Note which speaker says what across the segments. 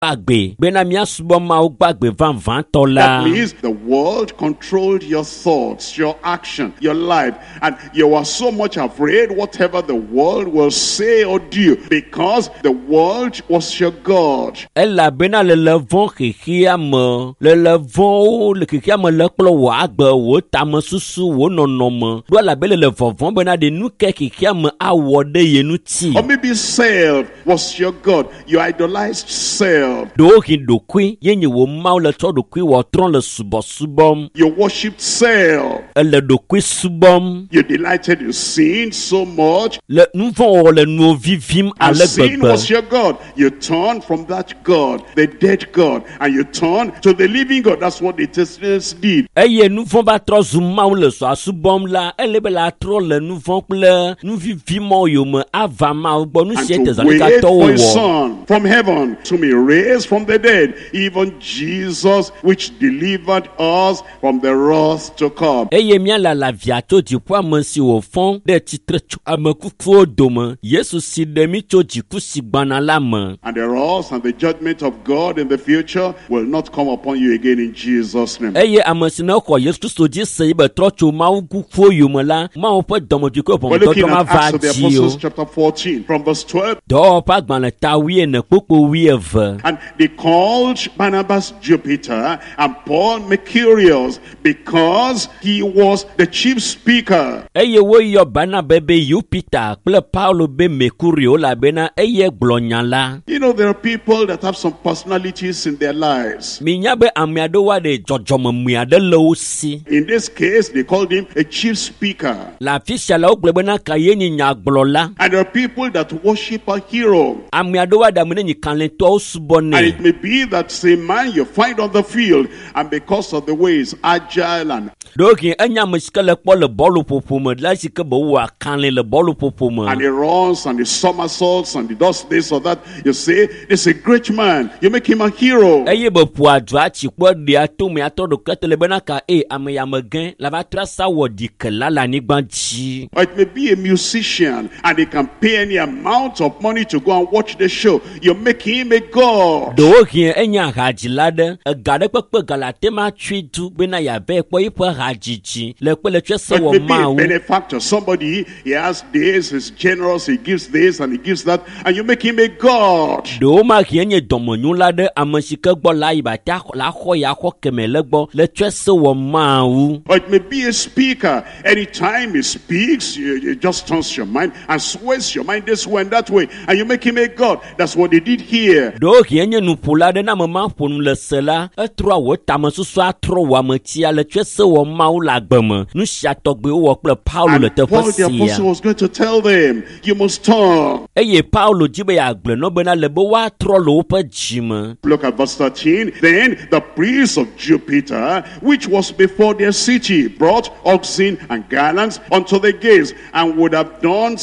Speaker 1: Gbagbe bena míasubɔ Mawu gbagbe vavãtɔ la.
Speaker 2: That means the world controlled your thoughts, your action, your life, and you were so much afraid whatever the world will say or do, because the world was your God.
Speaker 1: Elabena lele vɔ̃ xexea me, lele vɔ̃wo le xexea me le kplɔ wò agbe, wò tamesusu, wò nɔnɔme ɖo elabe lele vɔvɔ̃ bena ɖe nu ke xexea me awɔ ɖe ye ŋuti.
Speaker 2: Or maybe self was your God. You idolized self.
Speaker 1: Ɖewohĩ ɖokui ye nye wò Mawu le tsɔ ɖokui wɔ trɔ le subɔsubɔm.
Speaker 2: You worshipped self.
Speaker 1: Ele ɖokui subɔm.
Speaker 2: You delighted in sin so much.
Speaker 1: Le nu vɔ̃ wɔwɔ le nuwo vivim
Speaker 2: And
Speaker 1: ale
Speaker 2: sin
Speaker 1: gbegbe.
Speaker 2: was your God. You turned from that God, the dead God, and you turned to the living God. That's what the Thessalonians did.
Speaker 1: Eye nu vɔ̃ va trɔ zu Mawu le zɔa subɔm la, ele be la trɔ le nu vɔ̃ kple nu vivi mɔ yome ava Mawu gbɔ. Nu
Speaker 2: And
Speaker 1: sie
Speaker 2: to wait
Speaker 1: Tesalonikatɔwo
Speaker 2: for his
Speaker 1: wɔ.
Speaker 2: son from heaven, to be raised from the dead, even Jesus, which delivered us from the wrath to come.
Speaker 1: Eye míalala via tso dziƒo ame si wòfɔ ɖe tsitre tso ame kukuwo dome, Yesu si ɖe mí tso dziku si gbɔna la me.
Speaker 2: And the wrath and the judgment of God in the future will not come upon you again in Jesus' name.
Speaker 1: Eye ame si ne xɔ Yesu Kristo dzi se yi be trɔ tso Mawu kukuwo yome la, Mawu ƒe dɔmedzoe kple
Speaker 2: We're looking
Speaker 1: ʋɔnudɔdrɔ̃
Speaker 2: at
Speaker 1: mava
Speaker 2: Acts of the
Speaker 1: dzi o.
Speaker 2: Apostles chapter 14 from verse 12.
Speaker 1: Dɔwɔwɔ ƒe agbalẽ ta wuiene kpukpu wuieve.
Speaker 2: And they called Barnabas Jupiter and Paul Mercurius because he was the chief speaker.
Speaker 1: Eye woyɔ Barnaba be Yupita kple Paulo be Mekurio elabena eye gblɔ nya la.
Speaker 2: There are people that have some personalities in their lives.
Speaker 1: Minya be ame aɖewo aɖe dzɔdzɔmemui aɖe le wo si.
Speaker 2: In this case, they called him a chief speaker.
Speaker 1: Le afi sia la wogblɔ bena ka ye nye nyagblɔla.
Speaker 2: And there are people that worship a hero.
Speaker 1: Ame aɖewo aɖe ame ne nyi kalẽtɔwo subɔnɛ.
Speaker 2: And it may be that same man you find on the field, and because of the way he's agile and
Speaker 1: Ɖewohĩ enye ame si ke le kpɔ le bɔluƒoƒo me la si ke be wowɔa kalẽ le bɔluƒoƒo me.
Speaker 2: and he runs and he somersaults and he does this or that. You say, this is a great man. You make him a hero.
Speaker 1: Eye be ƒoa du atsi kpɔ ɖea tome atɔ ɖokui te le bena ka eye ame ya me gẽ la va trɔ asa wɔ ɖikela le anyigba dzi.
Speaker 2: Or it may be a musician and he can pay any amount of money to go and watch the show. You make him a god.
Speaker 1: Ɖewohĩ enye hadzila ɖe ega ɖe kpekpe ga le ate ma tsui du bena yeave kpɔ eƒe hadzidzi le kpe le tsɔe se
Speaker 2: Or it
Speaker 1: wɔ
Speaker 2: may be a
Speaker 1: Mawu.
Speaker 2: benefactor, somebody, he has this, he's generous, he gives this and he gives that, and you make him a god.
Speaker 1: Ɖewo ma hĩ enye dɔmenyula ɖe ame si ke gbɔ la yi ba te axɔ la xɔ ya xɔ keme le gbɔ le tsɔe se wɔ Mawu.
Speaker 2: Or it may be a speaker. Anytime he speaks, it just turns your mind and sways your mind this way and that way, and you make him a god. That's what they did here.
Speaker 1: Ɖewohĩ enye nuƒola ɖe ne ame ma ƒo nu le se la, etrɔa wò tamesusu atrɔ wò ametia le tsɔe se wɔ Mawu le agbe me. Nu sia tɔgbi wowɔ kple Paulo le
Speaker 2: And
Speaker 1: teƒe
Speaker 2: Paul the
Speaker 1: sia.
Speaker 2: apostle was going to tell them, you must turn.
Speaker 1: Eye Paulo dzi be yeagblɔ na wo bena le be woatrɔ le woƒe dzime.
Speaker 2: Look at verse 13. Then the priest of Jupiter, which was before their city, brought oxen and garlands unto the gates, and would have done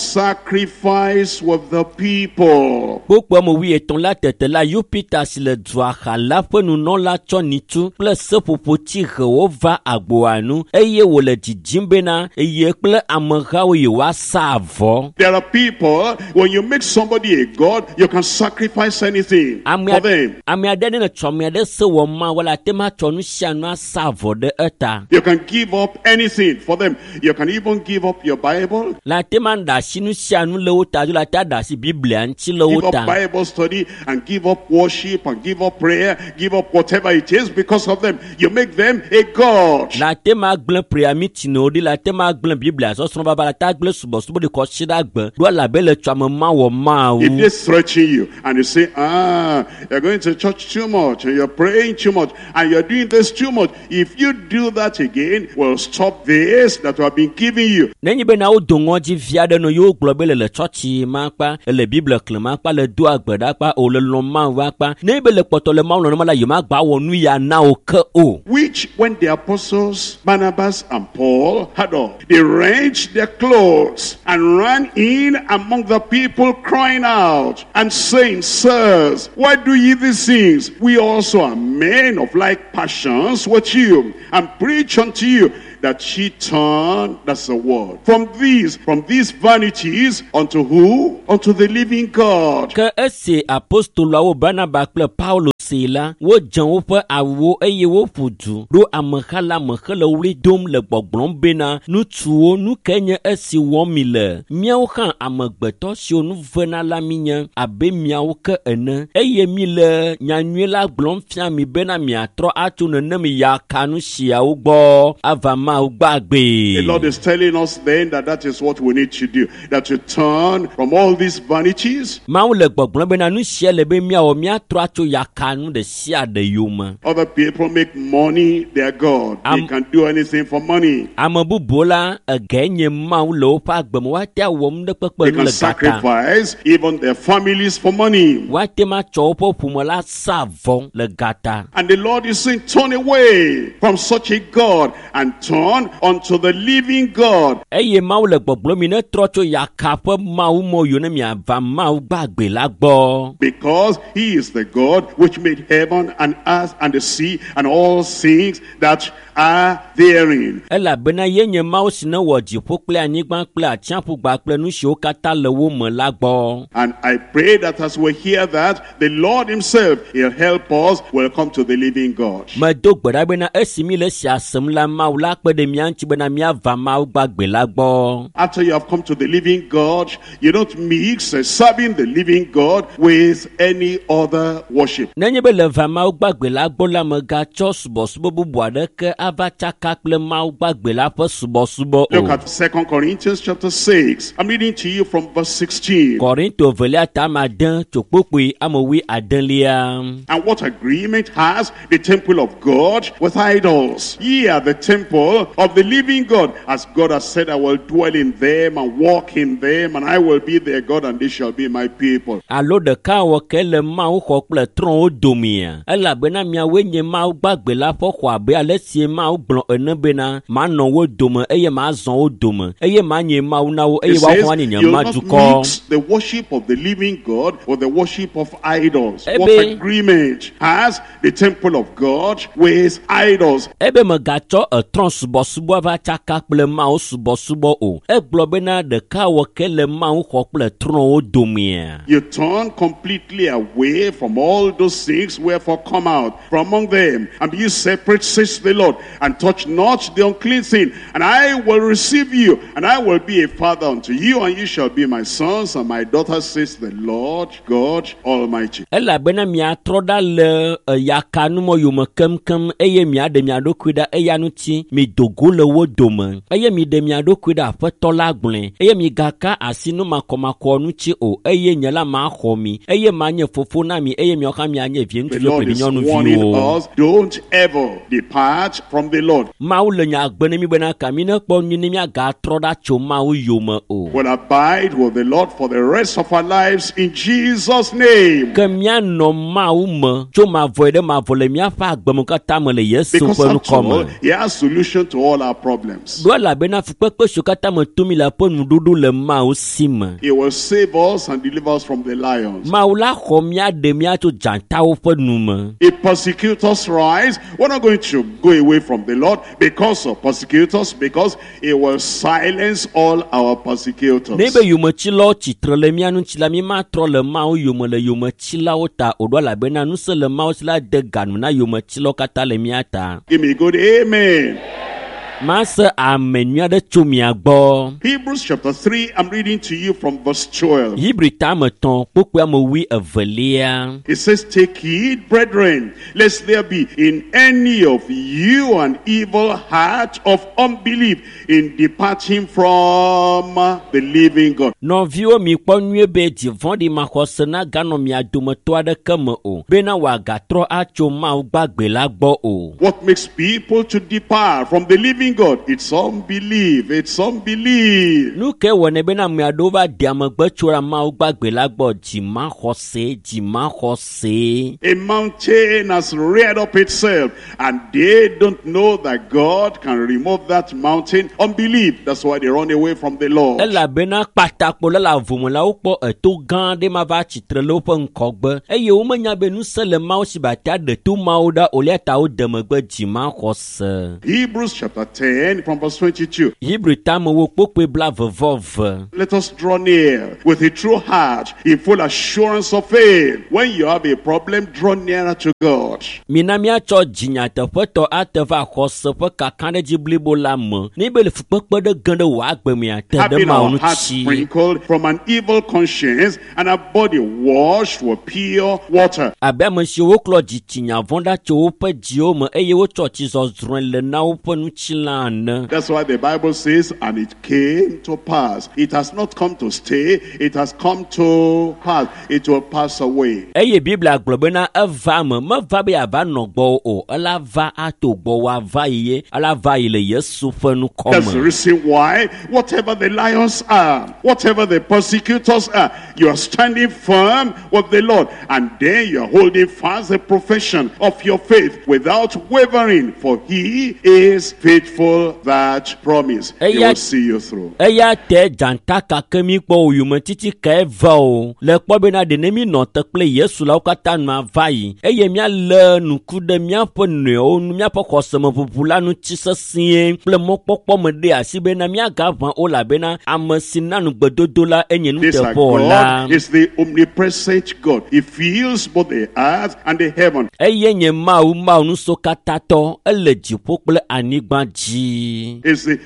Speaker 2: sacrifice with the people.
Speaker 1: Kpukpua me wuietɔ̃ la tete la Yupita si le dua xa la ƒe nunɔla tsɔ nyitu kple seƒoƒoti hewo va agboa nu eye wòle dzidzim bena eye kple amehawo yewoasa avɔ.
Speaker 2: There are people, when you make somebody a god, you can sacrifice anything
Speaker 1: Ame
Speaker 2: for them.
Speaker 1: ame aɖe ne netsɔ ame aɖe se wɔ Mawu la, ate ŋu atsɔ nu sia nu asa avɔ ɖe eta.
Speaker 2: You can give up anything for them. You can even give up your Bible,
Speaker 1: La ate ŋu aɖe asi nu sia nu le wo ta dzo la te aɖe asi Biblia ŋuti le wo
Speaker 2: give up
Speaker 1: ta.
Speaker 2: Bible study, and give up worship, and give up prayer, give up whatever it is because of them. You make them a god.
Speaker 1: La te ma gblẽ prayer meeting wo ɖi, la te ma gblẽ Biblia sɔsrɔ̃ vava, la te agblẽ subɔsubɔ ɖi kɔ tsi ɖe agbe ɖo elabe le tsɔ ame ma wɔ Mawu.
Speaker 2: If they threaten you and you say, you're going to church too much, and you're praying too much, and you're doing this too much, if you do that again, we'll stop this that we have been giving you.
Speaker 1: Nenye bena wodo ŋɔdzi vi aɖe nɔ yewo gblɔ be le le tsɔtsi ma kpa, le Biblia xlẽm akpa, le do agbe ɖa akpa, o le lɔ̃ Mawu akpa. Nenye be le kpɔtɔ le Mawu lɔ̃m la, yemagba wɔ nu ya na wo ke o.
Speaker 2: Which, when the apostles Barnabas and Paul had all, they rent their clothes and ran in among the people, crying out and saying, Sirs, why do ye these things? We also are men of like passions with you, and preach unto you that ye turn, that's the word, from these vanities unto who? Unto the living God.
Speaker 1: Ke esi apostoloawo Barnaba kple Paulo see la, wodze woƒe awuwo eye woƒu du ɖo ameha la me hele ɣli dom le gbɔgblɔm bena, ŋutsuwo, nu kae nye esi wɔm mi le? Míawo hã amegbetɔ siwo nu vena la míenye abe miawo ke ene, eye míle nyanyui la gblɔm fia mi bena miatrɔ atso nenem yakanu siawo gbɔ ava Mawu gbagbe.
Speaker 2: The Lord is telling us then that is what we need to do, that to turn from all these vanities.
Speaker 1: Mawu le gbɔgblɔm bena nu sia le be míawɔ míatrɔ atso yakanu ɖe sia ɖe yome.
Speaker 2: Other people make money their God. They can do anything for money.
Speaker 1: Ame bubuwo la ege nye Mawu le woƒe agbe me, woate awɔ nu ɖe kpekpe
Speaker 2: They
Speaker 1: nu
Speaker 2: can
Speaker 1: le gata.
Speaker 2: sacrifice even their families for money.
Speaker 1: Woate ma tsɔ woƒe ƒome la sa vɔ le gata.
Speaker 2: And the Lord is saying, turn away from such a God and turn unto the living God.
Speaker 1: Eye Mawu le gbɔgblɔm mi ne trɔ tso yaka ƒe Mawu mɔ yiwo ne miava Mawu gbagbe la gbɔ.
Speaker 2: Because he is the God which made heaven and earth and the sea and all things that are therein.
Speaker 1: Elabena ye nye Mawu si ne wɔ dziƒo kple anyigba kple atsiaƒu kple nu siwo katã le wo me la gbɔ.
Speaker 2: And I pray that as we hear that, the Lord himself, he'll help us, will come to the living God.
Speaker 1: Medo gbe ɖa bena esi mi le esia sem la, Mawu la kpe ɖe mía ŋuti bena míava Mawu gbagbe la gbɔ.
Speaker 2: After you have come to the living God, you don't mix serving the living God with any other worship.
Speaker 1: Nenye be le va Mawu gbagbe la gbɔ la, megatsɔ subɔsubɔ bubu aɖeke ava tsaka kple Mawu gbagbe la ƒe subɔsubɔ o.
Speaker 2: Look at 2 Corinthians chapter 6. I'm reading to you from verse 16.
Speaker 1: Korinto velia ta ame ade tso kpokpoe ame wui adelia.
Speaker 2: And what agreement has the temple of God with idols? Ye are the temple of the living God. As God has said, I will dwell in them and walk in them, and I will be their God, and they shall be my people.
Speaker 1: Alo ɖeka wɔ ke le Mawu xɔ kple trɔ̃wo domea? Elabena miawoe nye Mawu gbagbe la ƒe xɔ abe ale si Mawu gblɔ ene bena, manɔ wo dome eye mazɔ wo dome eye manye Mawu na wo eye
Speaker 2: It says,
Speaker 1: woaxɔ anyi nye
Speaker 2: you'll not
Speaker 1: madukɔ.
Speaker 2: mix the worship of the living God with the worship of idols. What
Speaker 1: Ebe-
Speaker 2: agreement has the temple of God with idols?
Speaker 1: Ebe megatsɔ etrɔ̃ subɔsubɔ va tsaka kple Mawu subɔsubɔ o. Egblɔ bena ɖeka wɔ ke le Mawu xɔ kple trɔ̃wo domea.
Speaker 2: You turn completely away from all those things, wherefore come out from among them, and be ye separate, says the Lord, and touch not the unclean thing, and I will receive you, and I will be a father unto you, and you shall be my sons and my daughters, says the Lord God Almighty.
Speaker 1: Elabena miatrɔ ɖa le yakanumɔ yome keŋkeŋ eye miaɖe mia ɖokui ɖa eya ŋuti mido go le wo dome eye miɖe mia ɖokui ɖe Aƒetɔ la gblɔe eye migaka asi nu makɔmakɔ ŋuti o eye nye la maxɔ mi eye manye fofo na mi eye miawo hã mianye vi
Speaker 2: The
Speaker 1: ŋutsuviwo
Speaker 2: Lord
Speaker 1: kple vi
Speaker 2: is warning
Speaker 1: nyɔnuviwo.
Speaker 2: us, don't ever depart from the Lord.
Speaker 1: Mawu le nya gbe ne mi bena ka mi nekpɔ nyui ne miagatrɔ ɖa tso Mawu yome o.
Speaker 2: We'll abide with the Lord for the rest of our lives in Jesus' name.
Speaker 1: Ke míanɔ Mawu me tso mavɔe ɖe mavɔ le míaƒe agbeme katã me le Yesu
Speaker 2: Because
Speaker 1: ƒe
Speaker 2: after
Speaker 1: ŋkɔ me.
Speaker 2: all, he has solution to all our problems.
Speaker 1: Ɖo elabena fukpekpe siwo katã me tom mi le ƒe nuɖuɖu le Mawu si me.
Speaker 2: He will save us and deliver us from the lions.
Speaker 1: Mawu la xɔ mía ɖe mía tso dzatawo ƒe nu me.
Speaker 2: If persecutors rise, we're not going to go away from the Lord because of persecutors, because he will silence all our persecutors.
Speaker 1: Ne be yometsilawo tsitre le mía ŋuti la, mi matrɔ le Mawu yome le yometsilawo ta o ɖo elabena ŋusẽ le Mawu si la de ganu na yometsilawo katã le mía ta.
Speaker 2: Give me a good amen.
Speaker 1: Mase ame nyui aɖe tso mia gbɔ.
Speaker 2: Hebrews chapter 3, I'm reading to you from verse 12.
Speaker 1: Hebri tame tɔ̃ kpokpoe ame wui evelia.
Speaker 2: It says, take heed, brethren, lest there be in any of you an evil heart of unbelief in departing from the living God.
Speaker 1: Nɔviwo mi kpɔ nyuie be dzi vɔ̃ɖi maxɔse naganɔ mia dometɔ aɖeke me o bena wòagatrɔ atso Mawu gbagbe la gbɔ o.
Speaker 2: What makes people to depart from the living God? It's unbelief. It's unbelief.
Speaker 1: Nu ke wɔnɛ bena ame aɖewo va de amegbe tso ɖe Mawu gbagbe la gbɔ dzimaxɔse dzimaxɔse.
Speaker 2: A mountain has reared up itself, and they don't know that God can remove that mountain. Unbelief. That's why they run away from the Lord.
Speaker 1: Elabena kpatakpo la le avome la wokpɔ eto gã aɖe ma va tsitre le woƒe ŋkɔgbe eye womenya be ŋusẽ le Mawu si be ate aɖe to mawo ɖa o eya ta wode megbe dzimaxɔse.
Speaker 2: Hebrews chapter 10 from verse 22.
Speaker 1: Hebri tamewo kpokpoe 22.
Speaker 2: Let us draw near with a true heart in full assurance of faith. When you have a problem, draw nearer to God.
Speaker 1: Mina míatsɔ dzinyateƒetɔ ate va xɔse ƒe kakaɖedzi blibo la me. Ne be le fukpekpe ɖe ge ɖe wò agbe mea, te ɖe
Speaker 2: Having
Speaker 1: Mawu
Speaker 2: our hearts
Speaker 1: ŋuti.
Speaker 2: sprinkled from an evil conscience and our body washed with pure water.
Speaker 1: Abe ame siwo woklɔ dzitsinya vɔ̃ ɖa tso woƒe dziwo me eye wotsɔ tsi zɔzrɔ̃e le na woƒe ŋutilã ene.
Speaker 2: That's why the Bible says, and it came to pass. It has not come to stay, it has come to pass. It will pass away.
Speaker 1: Eye Biblia gblɔ bena eva me, meva be yeava nɔ gbɔwò o, ela va ato gbɔwò ava yi ye, ela va yi le Yesu ƒe ŋkɔ
Speaker 2: That's the
Speaker 1: me.
Speaker 2: reason why, whatever the lions are, whatever the persecutors are, you are standing firm with the Lord. And then you are holding fast the profession of your faith without wavering, for he is faithful that promise. He will see you through.
Speaker 1: Eya te dzata kake mi kpɔ o yometiti kae va o le kpɔ bena ɖe ne mi nɔ te kple Yesu la wo katã nua va yi eye míalé ŋku ɖe míaƒe nɔewo nu míaƒe xɔsemeʋuʋu la ŋuti sesĩe kple mɔkpɔkpɔ me ɖe asi bena míagaʋã o elabena ame si na nugbedodo la enye
Speaker 2: This our
Speaker 1: nuteƒewɔla.
Speaker 2: God is the omnipresent God. He fills both the earth and the heaven.
Speaker 1: Eye nye Mawu Mawu nusɔkatatɔ ele dziƒo kple anyigba dzi.
Speaker 2: Is the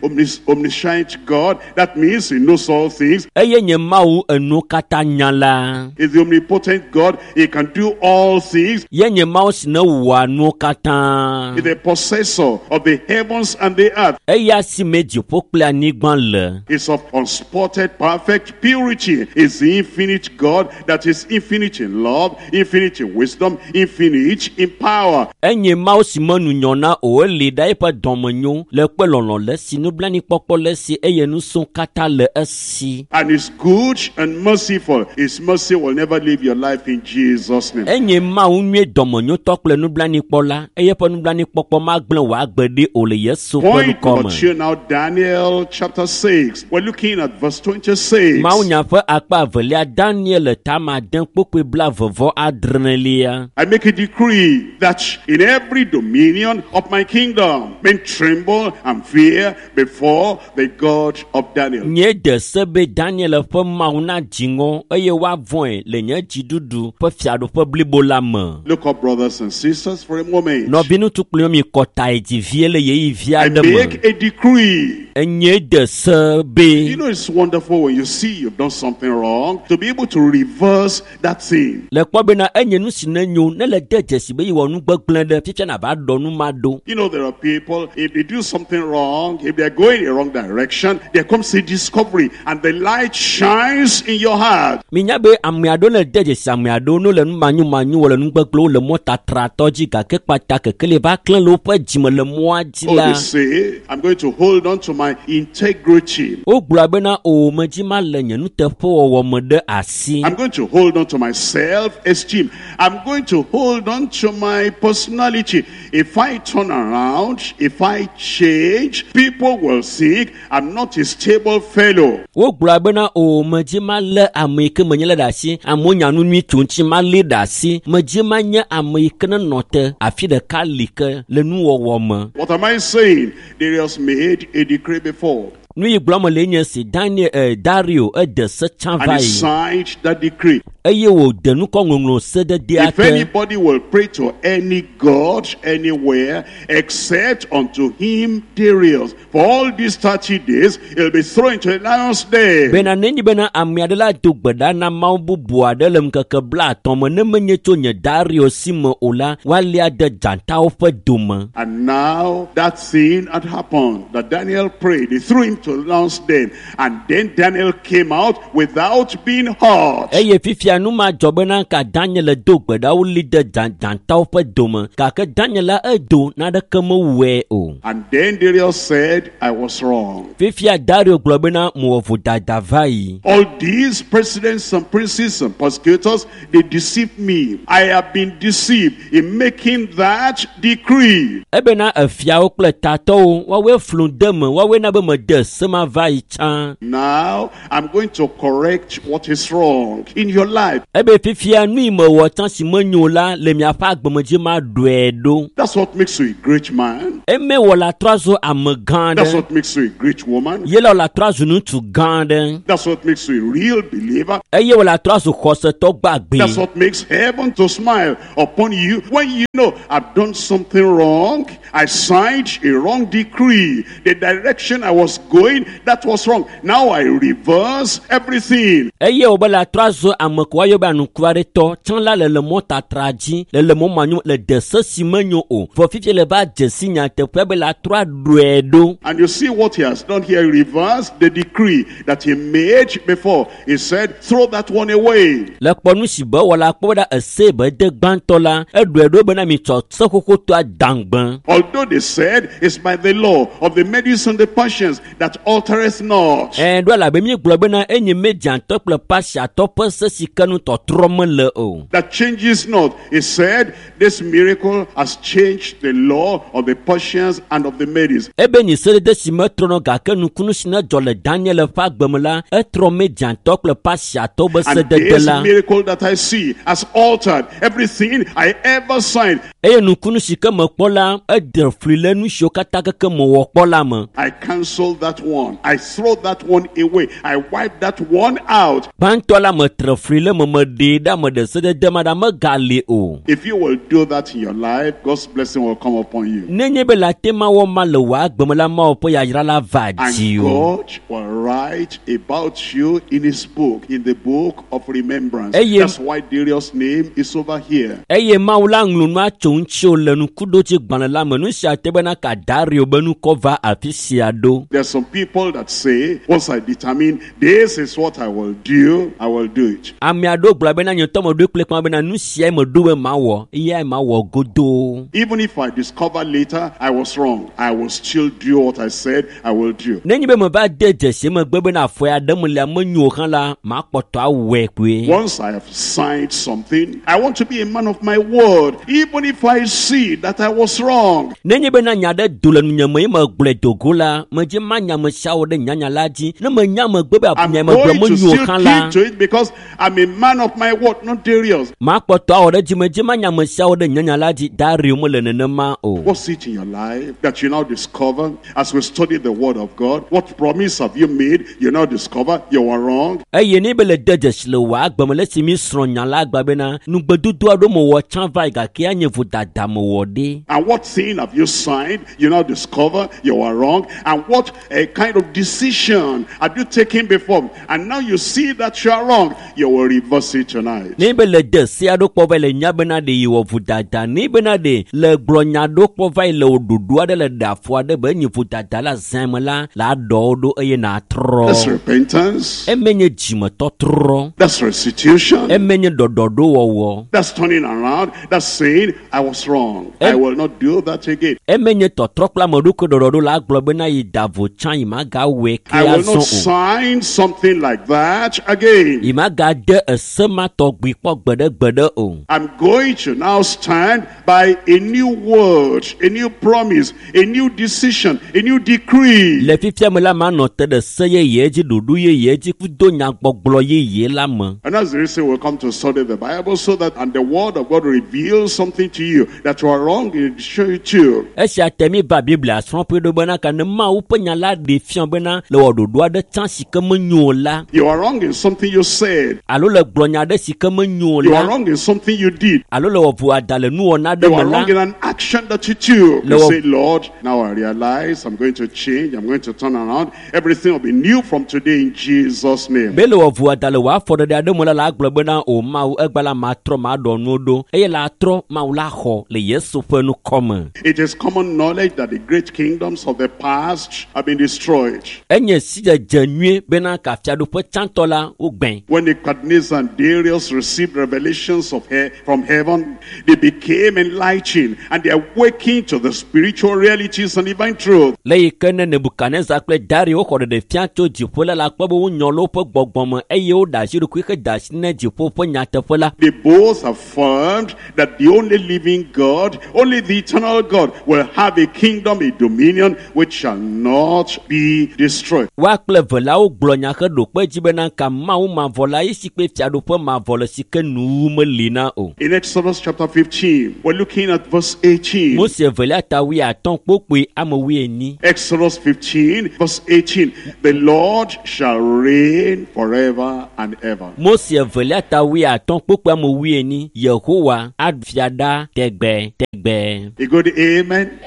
Speaker 2: omniscient God. That means he knows all things.
Speaker 1: Eye nye Mawu enuwo katã nya la.
Speaker 2: Is the omnipotent God. He can do all things.
Speaker 1: Ye nye Mawu si ne wɔa nuwo katã.
Speaker 2: Is the possessor of the heavens and the earth.
Speaker 1: Eya si me dziƒo kple anyigba le.
Speaker 2: Is of unspotted perfect purity. Is the infinite God that is infinite in love, infinite in wisdom, infinite in power.
Speaker 1: Enye Mawu si me nunyɔna o eli ɖa eƒe dɔmenyo le kpe lɔlɔ̃ le esi nublanuikpɔkpɔ le esi eye nusẽ katã le esi.
Speaker 2: And is good and merciful. His mercy will never leave your life in Jesus' name.
Speaker 1: Enye Mawu nyui dɔmenyotɔ kple nublanuikpɔla eye eƒe nublanuikpɔkpɔ magblẽ wò agbe ɖi o le Yesu ƒe
Speaker 2: Point
Speaker 1: ŋkɔ
Speaker 2: number
Speaker 1: me.
Speaker 2: 2 now, Daniel chapter 6. We're looking at verse 26.
Speaker 1: Mawunya ƒe akpa evelia Daniel tama ade kpokpoe 26.
Speaker 2: I make a decree that in every dominion of my kingdom, men tremble and fear before the God of Daniel.
Speaker 1: Nye de se be Daniel ƒe Mawu nadzi ŋɔ eye woavɔ̃e le nye dziɖuɖu ƒe fiaɖuƒe blibo la me.
Speaker 2: Look up, brothers and sisters, for a moment.
Speaker 1: Nɔviŋutsu kple mi kɔta yi dzi vie le ɣeyiɣi vi
Speaker 2: I
Speaker 1: aɖe me.
Speaker 2: make a decree.
Speaker 1: Enye de se be
Speaker 2: You know, it's wonderful when you see you've done something wrong to be able to reverse that thing.
Speaker 1: le kpɔ bena enye nu si ne nyo ne le de dzesi be yewɔ nu gbegblẽ ɖe fifia nava ɖɔ nu ma ɖo.
Speaker 2: You know, there are people, if they do something wrong, if they're going the wrong direction, there comes a discovery and the light shines in your heart.
Speaker 1: Minya be ame aɖewo le de dzesi ame aɖewo ne wole nu manyomanyo wɔ le nu gbegblẽwo le mɔtatratɔ dzi gake kpata kekeli va klẽ le woƒe dzime le mɔa dzi
Speaker 2: Oh,
Speaker 1: la.
Speaker 2: they say, I'm going to hold on to my integrity.
Speaker 1: Wogblɔ bena o medzi ma le nye nuteƒewɔwɔ me ɖe asi.
Speaker 2: I'm going to hold on to my self-esteem. I'm going to hold on to my personality. If I turn around, if I change, people will think I'm not a stable fellow.
Speaker 1: Wogblɔ bena o medzi ma lé ame yi ke menye le ɖe asi. Amewo nya nu nyui tso ŋuti ma lé ɖe asi. Medzi ma nye ame yi ke nenɔ te afi ɖeka li ke le nuwɔwɔ me.
Speaker 2: What am I saying? Darius made a decree before,
Speaker 1: Nu yi gblɔm le nye si Daniel Dario ede se tsã
Speaker 2: and
Speaker 1: va
Speaker 2: he
Speaker 1: yi
Speaker 2: signed that decree.
Speaker 1: eye wòde nukɔŋɔŋlɔ sededea
Speaker 2: If
Speaker 1: te.
Speaker 2: anybody will pray to any god anywhere except unto him Darius, for all these 30 days, he'll be thrown into a lion's den.
Speaker 1: Bena nenye bena ame aɖe la do gbe ɖa na mawu bubu aɖe le ŋkeke 30 me ne menye tso nye Dario si me o la, woalia de dzatawo ƒe dome.
Speaker 2: And now that thing had happened that Daniel prayed. They threw him to the lion's den. And then Daniel came out without being hurt.
Speaker 1: Eye fifia nu ma dzɔ bena ka Daniel do gbe ɖa woli de dzatawo ƒe dome gake Daniel la edo naneke mewɔe o.
Speaker 2: And then Darius said, I was wrong.
Speaker 1: Fifia Dario gblɔ bena mewɔ vodada va yi.
Speaker 2: All these presidents and princes and persecutors, they deceived me. I have been deceived in making that decree.
Speaker 1: Ebena efiawo kple tatɔwo woawoe flu de me woawoe na be mede se ese ma va yi tsã.
Speaker 2: Now I'm going to correct what is wrong in your life.
Speaker 1: Ebe fifia nu yi mewɔ tsã si menyo la le miaƒe agbemedzi ma ɖɔe ɖo.
Speaker 2: That's what makes you a great man.
Speaker 1: Eme wɔ la trɔ zu ame gã
Speaker 2: That's
Speaker 1: aɖe.
Speaker 2: what makes you a great woman.
Speaker 1: Ye la wò la trɔ zu ŋutsu gã aɖe.
Speaker 2: That's what makes you a real believer.
Speaker 1: Eye wò la trɔ zu xɔsetɔ gbagbe.
Speaker 2: That's what makes heaven to smile upon you when you know I've done something wrong. I signed a wrong decree. The direction I was going, that was wrong. Now I reverse everything.
Speaker 1: Eye wò be la trɔ zu ame ko woayɔ be anukuaretɔ tsã la le le mɔtatra dzi le le mɔ manyo le de se si menyo o. Vɔ fifia le va dze si nyateƒea be la trɔ aɖɔe ɖo.
Speaker 2: And you see what he has done here. He reversed the decree that he made before. He said, throw that one away.
Speaker 1: Le kpɔ nu si be wɔ la kpɔ be ɖa ese be de gbãtɔ la eɖɔe ɖo bena mitsɔ se xoxotɔa dãgbe.
Speaker 2: Although they said it's by the law of the Medes and the Persians that altereth not.
Speaker 1: Ɛ ɖo elabe míegblɔ bena enye Mediatɔ kple Pasiatɔ ƒe se si ke nu tɔtrɔ mele o.
Speaker 2: That changes not. He said this miracle has changed the law of the Persians and of the Medes.
Speaker 1: Ebe nyi sedede si metrɔnɔ gake nukunu si ne dzɔ le Daniel ƒe agbe me la etrɔ Mediatɔ kple Pasiatɔwo be
Speaker 2: And
Speaker 1: sedede
Speaker 2: this
Speaker 1: la.
Speaker 2: miracle that I see has altered everything I ever signed.
Speaker 1: Eye nukunu si ke mekpɔ la eɖe fli le nu siwo katã keke mewɔ kpɔ la me.
Speaker 2: I cancel that one. I throw that one away. I wipe that one out.
Speaker 1: Gbãtɔ la metre fli le me meɖee ɖa meɖe sedede ma ɖa megali o.
Speaker 2: If you will do that in your life, God's blessing will come upon you.
Speaker 1: Nenye be le ate ma wɔ ma le wò agbe me la Mawu ƒe yayra la va
Speaker 2: And
Speaker 1: dzi o.
Speaker 2: God will write about you in his book, in the book of remembrance.
Speaker 1: Eye-
Speaker 2: That's why Darius' name is over here.
Speaker 1: Eye Mawu la ŋlɔ nua tso ŋutiwò le nukuɖodzi gbalẽ la me. Nu sia te bena ka Dario be nukɔ va afi sia ɖo.
Speaker 2: There are some people that say, once I determine this is what I will do, I will do it.
Speaker 1: Ame aɖewo gblɔ bena nye ŋutɔ meɖoe kple kpã bena nu siae meɖo be mawɔ, eyae mawɔ godoo.
Speaker 2: Even if I discover later I was wrong, I will still do what I said I will do.
Speaker 1: Nenye be meva de dzesi megbe bena afɔ ya ɖem lia menyo o hã la, makpɔtɔ awɔe koe.
Speaker 2: Once I have signed something, I want to be a man of my word, even if I see that I was wrong.
Speaker 1: Nenye bena nya ɖe do le nunye me ye megblɔe do go la, medze manya ame siawo ɖe nyanya la dzi. Ne menya megbe be
Speaker 2: I'm
Speaker 1: nya megblɔ
Speaker 2: going to
Speaker 1: menyo o
Speaker 2: still
Speaker 1: hã la,
Speaker 2: keep to it because I'm a man of my word, not Darius.
Speaker 1: makpɔtɔ awɔ ɖe dzi medze manya ame siawo ɖe nyanya la dzi. Dario mele nenema o.
Speaker 2: What's it in your life that you now discover as we study the word of God? What promise have you made? You now discover you were wrong.
Speaker 1: Eye ne be le de dzesi le wò agbe me le esi mi srɔ̃ nya la gba bena nugbedodo aɖewo mewɔ tsã va yi gake anye vodada mewɔ ɖe.
Speaker 2: And what thing have you signed? You now discover you were wrong. And what a kind of decision have you taken before? And now you see that you are wrong. You will reverse it tonight.
Speaker 1: Ne be le de se aɖewo kpɔ va yi le nya bena ɖe yi wɔ vodada ne bena ɖe le gblɔ nya aɖewo kpɔ va yi le wò ɖoɖo aɖe le ɖe afɔ aɖe be enye vodada la zã me la la aɖɔ wo ɖo eye nàtrɔ.
Speaker 2: That's repentance.
Speaker 1: Eme nye dzimetɔtrɔ.
Speaker 2: That's restitution.
Speaker 1: Eme nye ɖɔɖɔɖowɔwɔ.
Speaker 2: That's turning around. That's saying, I was wrong. I will not do that again.
Speaker 1: Eme nye tɔtrɔ kple ame ɖokui ɖɔɖɔɖo la gblɔ bena yi da vo tsã yi magawɔe ke
Speaker 2: I will
Speaker 1: azɔ
Speaker 2: not
Speaker 1: o.
Speaker 2: sign something like that again.
Speaker 1: Yi magade ese ma tɔgbi kpɔ gbeɖegbeɖe o.
Speaker 2: I'm going to now stand by a new word, a new promise, a new decision, a new decree.
Speaker 1: Le fifia me la manɔ te ɖe se yeye dzi, ɖoɖo yeye dzi kudo nyagbɔgblɔ yeye la me.
Speaker 2: And that's the reason we come to study the Bible so that and the word of God reveals something to you that you are wrong, it show you too.
Speaker 1: Esia te mi va Biblia srɔ̃ƒe ɖo bena ka ne Mawu ƒe nya la ɖe fia bena le wɔ ɖoɖo aɖe tsã si ke menyo o la
Speaker 2: You are wrong in something you said.
Speaker 1: alo le gblɔ nya aɖe si ke menyo o
Speaker 2: You
Speaker 1: la
Speaker 2: are wrong in something you did.
Speaker 1: alo le wɔ vodada le nuwɔna aɖe
Speaker 2: You
Speaker 1: me
Speaker 2: are
Speaker 1: la
Speaker 2: wrong in an action that you took. You
Speaker 1: No.
Speaker 2: say, Lord, now I realize I'm going to change. I'm going to turn around. Everything will be new from today in Jesus' name.
Speaker 1: be le wɔ vodada le wò afɔɖeɖe aɖe me la la agblɔ bena o Mawu egba la matrɔ maɖɔ nuwo ɖo eye la trɔ Mawu la xɔ le Yesu ƒe nukɔme.
Speaker 2: It is common knowledge that the great kingdoms of the past have been destroyed.
Speaker 1: Enye sidzedze nyuie bena ka fiaɖuƒe tsãtɔ la wogbẽ.
Speaker 2: When Nebuchadnezzar and Darius received revelations of from heaven, they became enlightened and they awakened to the spiritual realities and divine truth.
Speaker 1: Le yi ke ne Nebukadnezar kple Dario xɔ ɖeɖefia tso dziƒo la la kpɔ be wonyɔ le woƒe gbɔgbɔ me eye woɖe asi ɖokui hede asi ne dziƒo ƒe nyateƒe la.
Speaker 2: They both affirmed that the only only living God, only the eternal God will have a kingdom, a dominion which shall not be destroyed.
Speaker 1: Woa kple eve la wogblɔ nya heɖo kpe dzi bena ka Mawu mavɔ la ye si kpe fiaɖuƒe mavɔ le si ke nuwuwu meli na o.
Speaker 2: In Exodus chapter 15, we're looking at verse 18.
Speaker 1: Mose evelia ta wuiatɔ̃ kpokpoe ame wuienyi.
Speaker 2: Exodus 15, verse 18. The Lord shall reign forever and ever.
Speaker 1: Mose evelia ta wuiatɔ̃ kpokpoe ame wuienyi. Yehowa aɖu fia ɖa tegbe tegbe.
Speaker 2: A good amen.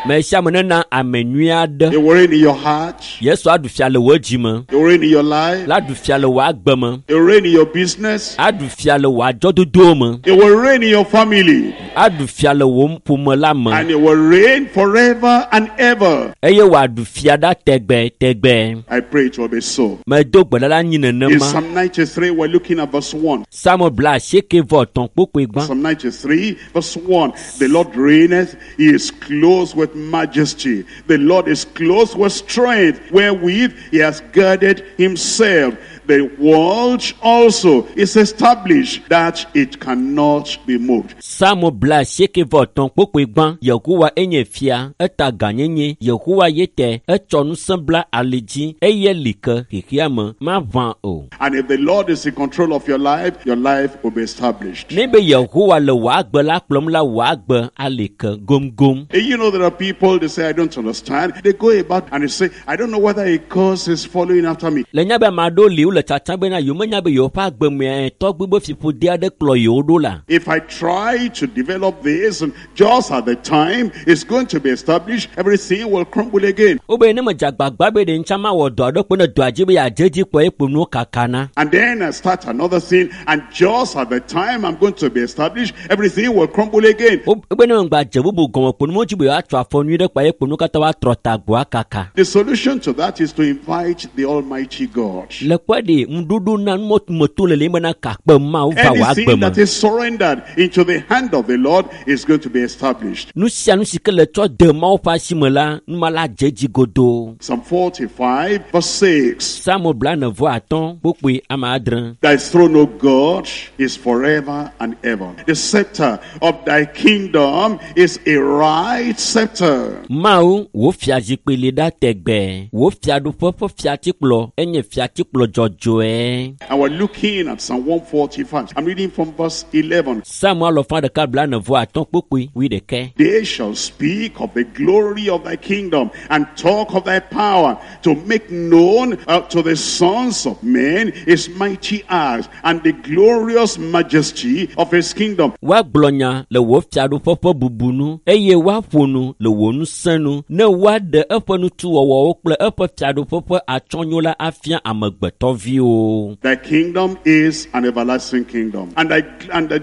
Speaker 1: Me sia ame nena ame nyui aɖe.
Speaker 2: He will reign in your heart.
Speaker 1: Yesu aɖu fia le wò dzi me.
Speaker 2: He will reign in your life.
Speaker 1: La ɖu fia le wò agbe me.
Speaker 2: He will reign in your business.
Speaker 1: Aɖu fia le wò adzɔdodowo me.
Speaker 2: He will reign in your family.
Speaker 1: Aɖu fia le wò ƒome la me.
Speaker 2: And he will reign forever and ever.
Speaker 1: Eye wòaɖu fia ɖa tegbe tegbe.
Speaker 2: I pray it will be so.
Speaker 1: Medo gbe ɖa la anyi
Speaker 2: In
Speaker 1: nenema.
Speaker 2: Psalm 93, we're looking at verse 1.
Speaker 1: Psalm bla asieke vɔ etɔ̃ kpokpoe gbã.
Speaker 2: Psalm 93, verse 1. The Lord reigneth, he is clothed with majesty. The Lord is clothed with strength, wherewith he has girded himself. The world also is established that it cannot be moved.
Speaker 1: Psalm bla asieke vɔ etɔ̃ kpokpoe gbã. Yehowa enye fia, eta gãnyenye. Yehowa ye te, etsɔ ŋusẽ bla ali dzi eye li ke xexea me maʋã o.
Speaker 2: And if the Lord is in control of your life will be established.
Speaker 1: Ne be Yehowa le wò agbe la kplɔm la, wò agbe ali ke gomgom.
Speaker 2: And you know, there are people, they say, I don't understand. They go about and they say, I don't know whether a curse is following after me.
Speaker 1: Le nya be ame aɖewo li wole tsatsam bena yewo menya be yewoƒe agbe mea tɔgbi be fiƒode aɖe kplɔ yewo ɖo la.
Speaker 2: If I try to develop this, and just at the time it's going to be established, everything will crumble again.
Speaker 1: Wobe ne medze agbagba be ɖe ŋutsa mawɔ dɔ aɖe kpo ne dɔa dzi be yeadze edzi kpɔ ye kpo nuwo kakana.
Speaker 2: And then I start another thing, and just at the time I'm going to be established, everything will crumble again.
Speaker 1: Wobe ne megba dze bubu gɔme kpo nuwo dzi be yewoatsɔ afɔ nyui ɖe kpa ye kpo nuwo katã woatrɔ ta gbɔa kaka.
Speaker 2: The solution to that is to invite the Almighty God.
Speaker 1: Le kpɔ ɖe ŋuɖoɖo na numɔtumeto le le bena kakpe Mawu va wò agbe
Speaker 2: Anything
Speaker 1: me.
Speaker 2: that is surrendered into the hand of the Lord is going to be established.
Speaker 1: Nu sia nu si ke le tsɔ de Mawu ƒe asi me la, numa la dze edzi godoo.
Speaker 2: Psalm 45, verse 6.
Speaker 1: Psalm blaene vɔ atɔ̃ kpokpoe ame adre.
Speaker 2: Thy throne, O God, is forever and ever. The scepter of thy kingdom is a right scepter.
Speaker 1: Mawu, wò fiazikpui li ɖa tegbe. Wò fiaɖuƒe ƒe fiatikplɔ enye fiatikplɔ dzɔdzɔe.
Speaker 2: And we're looking at Psalm 145. I'm reading from verse 11.
Speaker 1: Psalm alɔfa ɖeka blaene vɔ atɔ̃ kpokpoe wuiɖekɛ.
Speaker 2: They shall speak of the glory of thy kingdom and talk of thy power to make known to the sons of men his mighty acts and the glorious majesty of his kingdom.
Speaker 1: Woagblɔ nya le wò fiaɖuƒe ƒe bubu nu eye woaƒo nu le wò ŋusẽ nu ne woaɖe eƒe nutuwɔwɔwo kple eƒe fiaɖuƒe ƒe atsyɔ̃nyo la afia amegbetɔviwo.
Speaker 2: Thy kingdom is an everlasting kingdom, and thy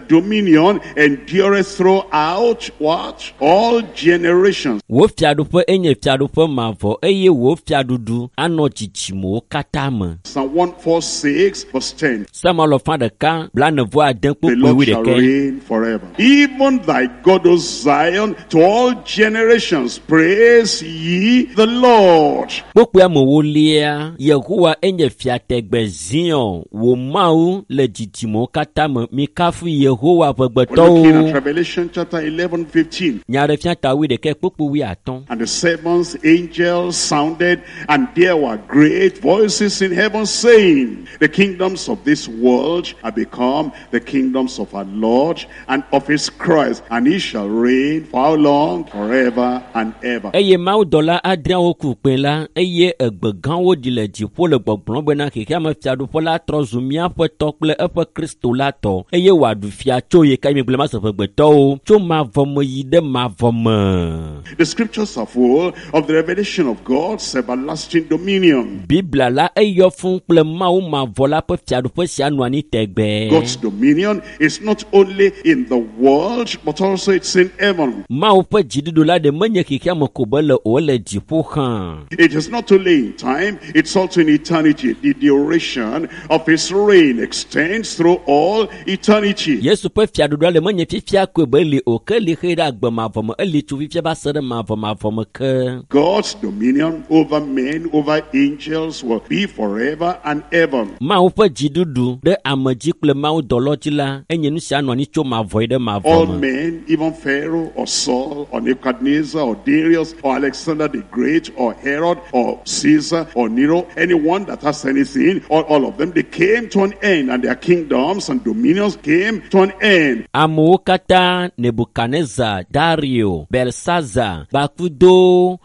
Speaker 2: dominion endureth throughout what? All generations.
Speaker 1: Wò fiaɖuƒe enye fiaɖuƒe mavɔ eye wò fiaɖuɖu anɔ dzidzimewo katã me.
Speaker 2: Psalm 146, verse 10.
Speaker 1: Psalm alɔfa ɖeka blaene vɔ ade
Speaker 2: The
Speaker 1: kpokpoe
Speaker 2: Lord shall
Speaker 1: wuiɖekɛ.
Speaker 2: reign forever. Even thy God, O Zion, to all generations, praise ye the Lord.
Speaker 1: Kpokpoe amewo lia, Yehowa enye fia tegbe Zion, wò Mawu le dzidzimewo katã me. Mikafu Yehowa
Speaker 2: We're looking
Speaker 1: ƒegbetɔwo.
Speaker 2: at Revelation chapter 11, 15.
Speaker 1: Nyaɖefia ta wuiɖekɛ kpokpoe wuiatɔ̃.
Speaker 2: And the seventh angel sounded, and there were great voices in heaven saying, The kingdoms of this world are become the kingdoms of our Lord and of his Christ, and he shall reign for how long? Forever and ever.
Speaker 1: Eye mawudɔla adreawo ku kpẽ la eye egbe gãwo ɖi le dziƒo le gbɔgblɔm bena xexeame fiaɖuƒe la trɔ zu míaƒe tɔ kple eƒe Kristo la tɔ eye wòaɖu fia tso yi ka mi gblẽ mase ƒegbetɔwo tso mavɔ me yi ɖe mavɔ me.
Speaker 2: The scriptures are full of the revelation of God's everlasting dominion.
Speaker 1: Biblia la eyɔ fũu kple Mawu mavɔ la ƒe fiaɖuƒe sia nɔ anyi tegbee.
Speaker 2: God's dominion is not only in the world, but also it's in heaven.
Speaker 1: Mawu ƒe dziɖuɖu la ɖe menye xexeame ko be le o, ele dziƒo hã.
Speaker 2: It is not only in time, it's also in eternity. The duration duration of his reign extends through all eternity.
Speaker 1: Yesu ƒe fiaɖuɖua le menye fifia koe be eli o ke eli xe ɖe agbe mavɔ me eli tso fifia va se ɖe mavɔmavɔ me ke.
Speaker 2: God's dominion over men, over angels will be forever and ever.
Speaker 1: Mawu ƒe dziɖuɖu ɖe ame dzi kple Mawu dɔlɔ dzi la enye nu sia nɔ anyi tso mavɔ yi ɖe mavɔ
Speaker 2: All
Speaker 1: me.
Speaker 2: men, even Pharaoh or Saul or Nebuchadnezzar or Darius or Alexander the Great or Herod or Caesar or Nero, anyone that has anything, all of them, they came to an end, and their kingdoms and dominions came to an end.
Speaker 1: Amewo katã Nebukadnezar, Dario, Belsaza kpakudo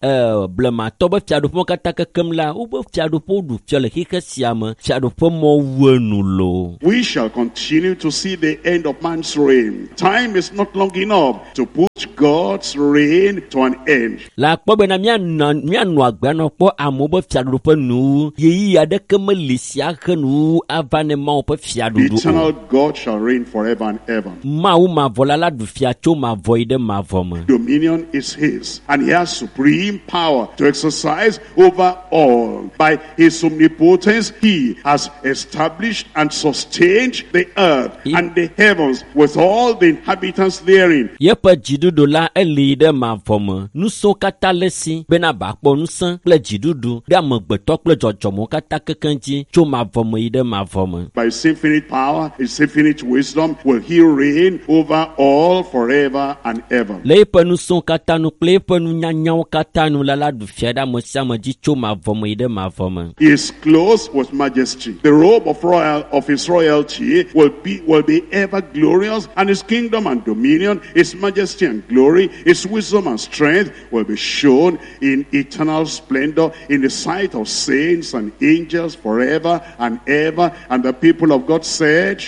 Speaker 1: blematɔ be fiaɖuƒewo katã kekem la wobe fiaɖuƒewo ɖu fia le xixe sia me fiaɖuƒe mɔ wu enu loo.
Speaker 2: We shall continue to see the end of man's reign. Time is not long enough to put God's reign to an end.
Speaker 1: Le akpɔ bena míanɔ agbe anɔ kpɔ amewo be fiaɖuƒe nuwu ɣeyiɣi aɖeke meli sia he nuwuwu ava ne Mawu ƒe
Speaker 2: The
Speaker 1: fiaɖuɖu o.
Speaker 2: eternal God shall reign forever and ever.
Speaker 1: Mawu mavɔ la ɖu fia tso mavɔ yi ɖe mavɔ me.
Speaker 2: Dominion is his, and he has supreme power to exercise over all. By his omnipotence, he has established and sustained the earth and the heavens with all the inhabitants therein.
Speaker 1: Yeƒe dziɖuɖu la eli ɖe mavɔ me. Ŋusẽwo katã le esi bena wòakpɔ ŋusẽ kple dziɖuɖu ɖe amegbetɔ kple dzɔdzɔmewo katã kekeŋ dzi tso mavɔ me yi ɖe mavɔ me.
Speaker 2: By his infinite power, his infinite wisdom, will he reign over all forever and ever.
Speaker 1: Le eƒe ŋusẽwo katã nu kple eƒe nunyanyawo katã nu la ɖu fia ɖe ame sia ame dzi tso mavɔ me yi ɖe mavɔ me.
Speaker 2: He is clothed with majesty. The robe of his royalty will be ever glorious, and his kingdom and dominion, his majesty and glory, his wisdom and strength will be shown in eternal splendor in the sight of saints and angels forever and ever. And the people of God said,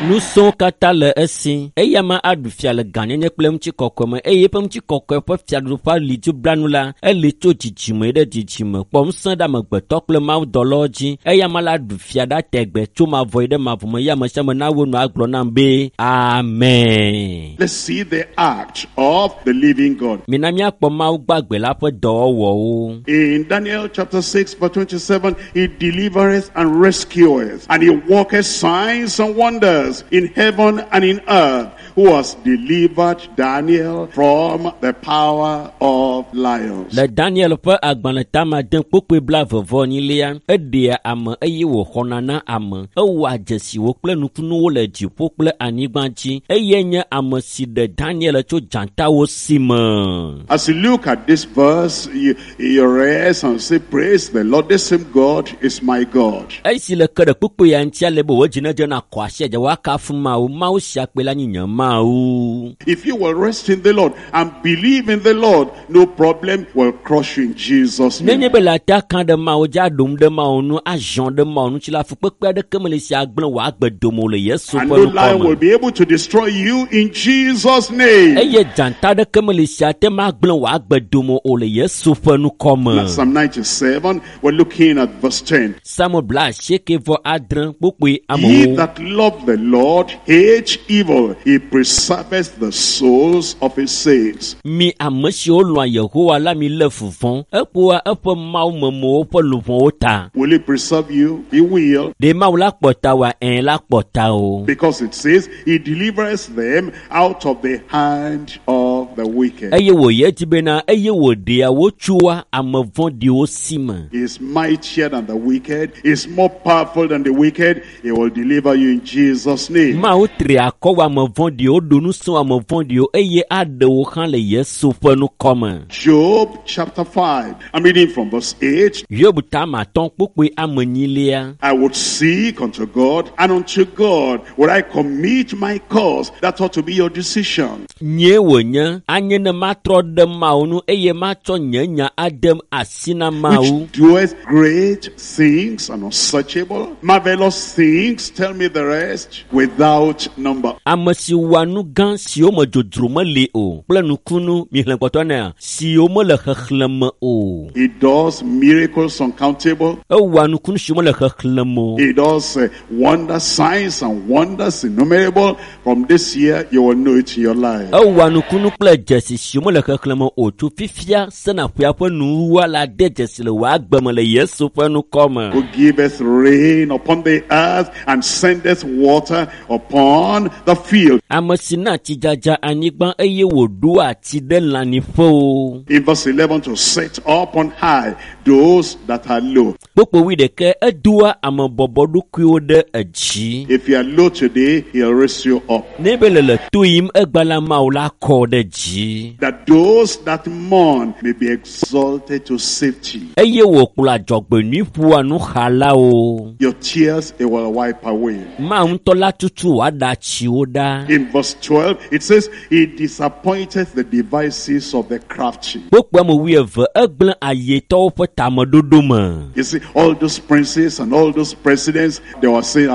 Speaker 1: Ŋusẽwo katã le esi. Eya ma aɖu fia le gãnyenye kple ŋutikɔkɔe me eye eƒe ŋutikɔkɔe ƒe fiaɖuƒe ali dziblanu la eli tso dzidzime ɖe dzidzime kpɔ ŋusẽ ɖe amegbetɔ kple mawudɔlawo dzi. Eya ma la ɖu fia ɖa tegbe tso mavɔ yi ɖe mavɔ me eye ame sia ame nawo nu agblɔ nam be amen.
Speaker 2: Let's see the act of the living God.
Speaker 1: Mina míakpɔ Mawu gbagbe la ƒe dɔwɔwɔwo.
Speaker 2: In Daniel chapter 6 verse 27, he delivereth and rescueth, and he worketh signs and wonders in heaven and in earth, who has delivered Daniel from the power of lions.
Speaker 1: Le Daniel ƒe agbalẽ tama de kpokpoe 22 eɖea ame eye wòxɔna na ame. Ewɔa dzesiwo kple nukunuwo le dziƒo kple anyigba dzi. Eye nye ame si ɖe Daniel tso dzatawo si me.
Speaker 2: As you look at this verse, you rest and say, praise the Lord, this same God is my God.
Speaker 1: Esi le ke ɖe kpokpoe ya ŋuti ale be wò dzi nedze na kɔ asi edze woakafu Mawu, Mawu sia kpe la nye nye Mawu.
Speaker 2: If you will rest in the Lord and believe in the Lord, no problem will crush you in Jesus' name.
Speaker 1: Nenye be le ata ka ɖe Mawu dzi aɖom ɖe Mawu nu, azɔ ɖe Mawu ŋuti la, fukpekpe aɖeke meli si agblẽ wò agbe dome o le Yesu
Speaker 2: And
Speaker 1: ƒe
Speaker 2: no
Speaker 1: ŋkɔ
Speaker 2: lion
Speaker 1: me.
Speaker 2: will be able to destroy you in Jesus' name.
Speaker 1: Eye dzata aɖeke meli si ate ŋu agblẽ wò agbe dome o le Yesu ƒe ŋkɔ me.
Speaker 2: Now, Psalm 97, we're looking at verse 10.
Speaker 1: Psalm 96 kpokpoe
Speaker 2: Ye
Speaker 1: amewo.
Speaker 2: that love the Lord hate evil. He preserveth the souls of his saints.
Speaker 1: Mi ame siwo lɔ̃a Yehowa la mi lé fu vɔ̃. Ekpoa eƒe mawumemewo ƒe luʋɔwo ta.
Speaker 2: Will he preserve you? He will.
Speaker 1: Ɖe Mawu la kpɔ ta wòa? Ɛ̃ la kpɔ ta o.
Speaker 2: Because it says he delivers them out of the hand of the wicked.
Speaker 1: Eye wòyi edzi bena eye wòɖea wo tsoa ame vɔ̃ɖiwo si me.
Speaker 2: He is mightier than the wicked. He is more powerful than the wicked. He will deliver you in Jesus' name.
Speaker 1: Mawu tri akɔ wɔ ame vɔ̃ɖiwo, ɖo ŋusẽ wɔ ame vɔ̃ɖiwo eye aɖe wo hã le Yesu ƒe ŋkɔ me.
Speaker 2: Job chapter 5. I'm reading from verse 8.
Speaker 1: Hiob tama atɔ̃ kpokpoe ame enyilia.
Speaker 2: I would seek unto God, and unto God would I commit my cause. That ought to be your decision.
Speaker 1: Nyee wònye anye ne matrɔ ɖe Mawu ŋu eye matsɔ nye nya ade asi na Mawu.
Speaker 2: Which doeth great things and unsearchable, marvelous things, tell me the rest, without number.
Speaker 1: Ame si wɔa nu gã siwo me dzodzro meli o kple nukunu mihlẽ kpɔtɔ nea siwo mele xexlẽme o.
Speaker 2: He does miracles uncountable.
Speaker 1: Ewɔa nukunu siwo mele xexlẽme o.
Speaker 2: He does wonder signs and wonders innumerable. From this year, you will know it in your life.
Speaker 1: Ewɔa nukunu kple kple dzesi siwo mele xexlẽme o tso fifia sena ƒea ƒe nuwuwua la de dzesi le wò agbe me le Yesu ƒe ŋkɔ me.
Speaker 2: Who giveth rain upon the earth and sendeth water upon the field.
Speaker 1: Ame si na tsidzadza anyigba eye wòɖoa tsi ɖe lãnyiƒewo.
Speaker 2: In verse 11, to set up on high those that are low.
Speaker 1: Kpukpui wuiɖekɛ, edoa ame bɔbɔɖokuiwo ɖe edzi.
Speaker 2: If you are low today, he'll raise you up.
Speaker 1: Ne be le le to yim egba la Mawu la kɔ ɖe dzi.
Speaker 2: That those that mourn may be exalted to safety.
Speaker 1: Eye wòkplɔ adzɔgbenyui ƒoa nuxalawo.
Speaker 2: Your tears he will wipe away.
Speaker 1: Mawu ŋutɔ la tutu wòaɖa tsiwo ɖa.
Speaker 2: In verse 12, it says, He disappointed the devices of the crafty.
Speaker 1: Kpukpui ame wuieve, egblẽ ayetɔwo ƒe tameɖoɖo me.
Speaker 2: You see, all those princes and all those presidents, they were saying,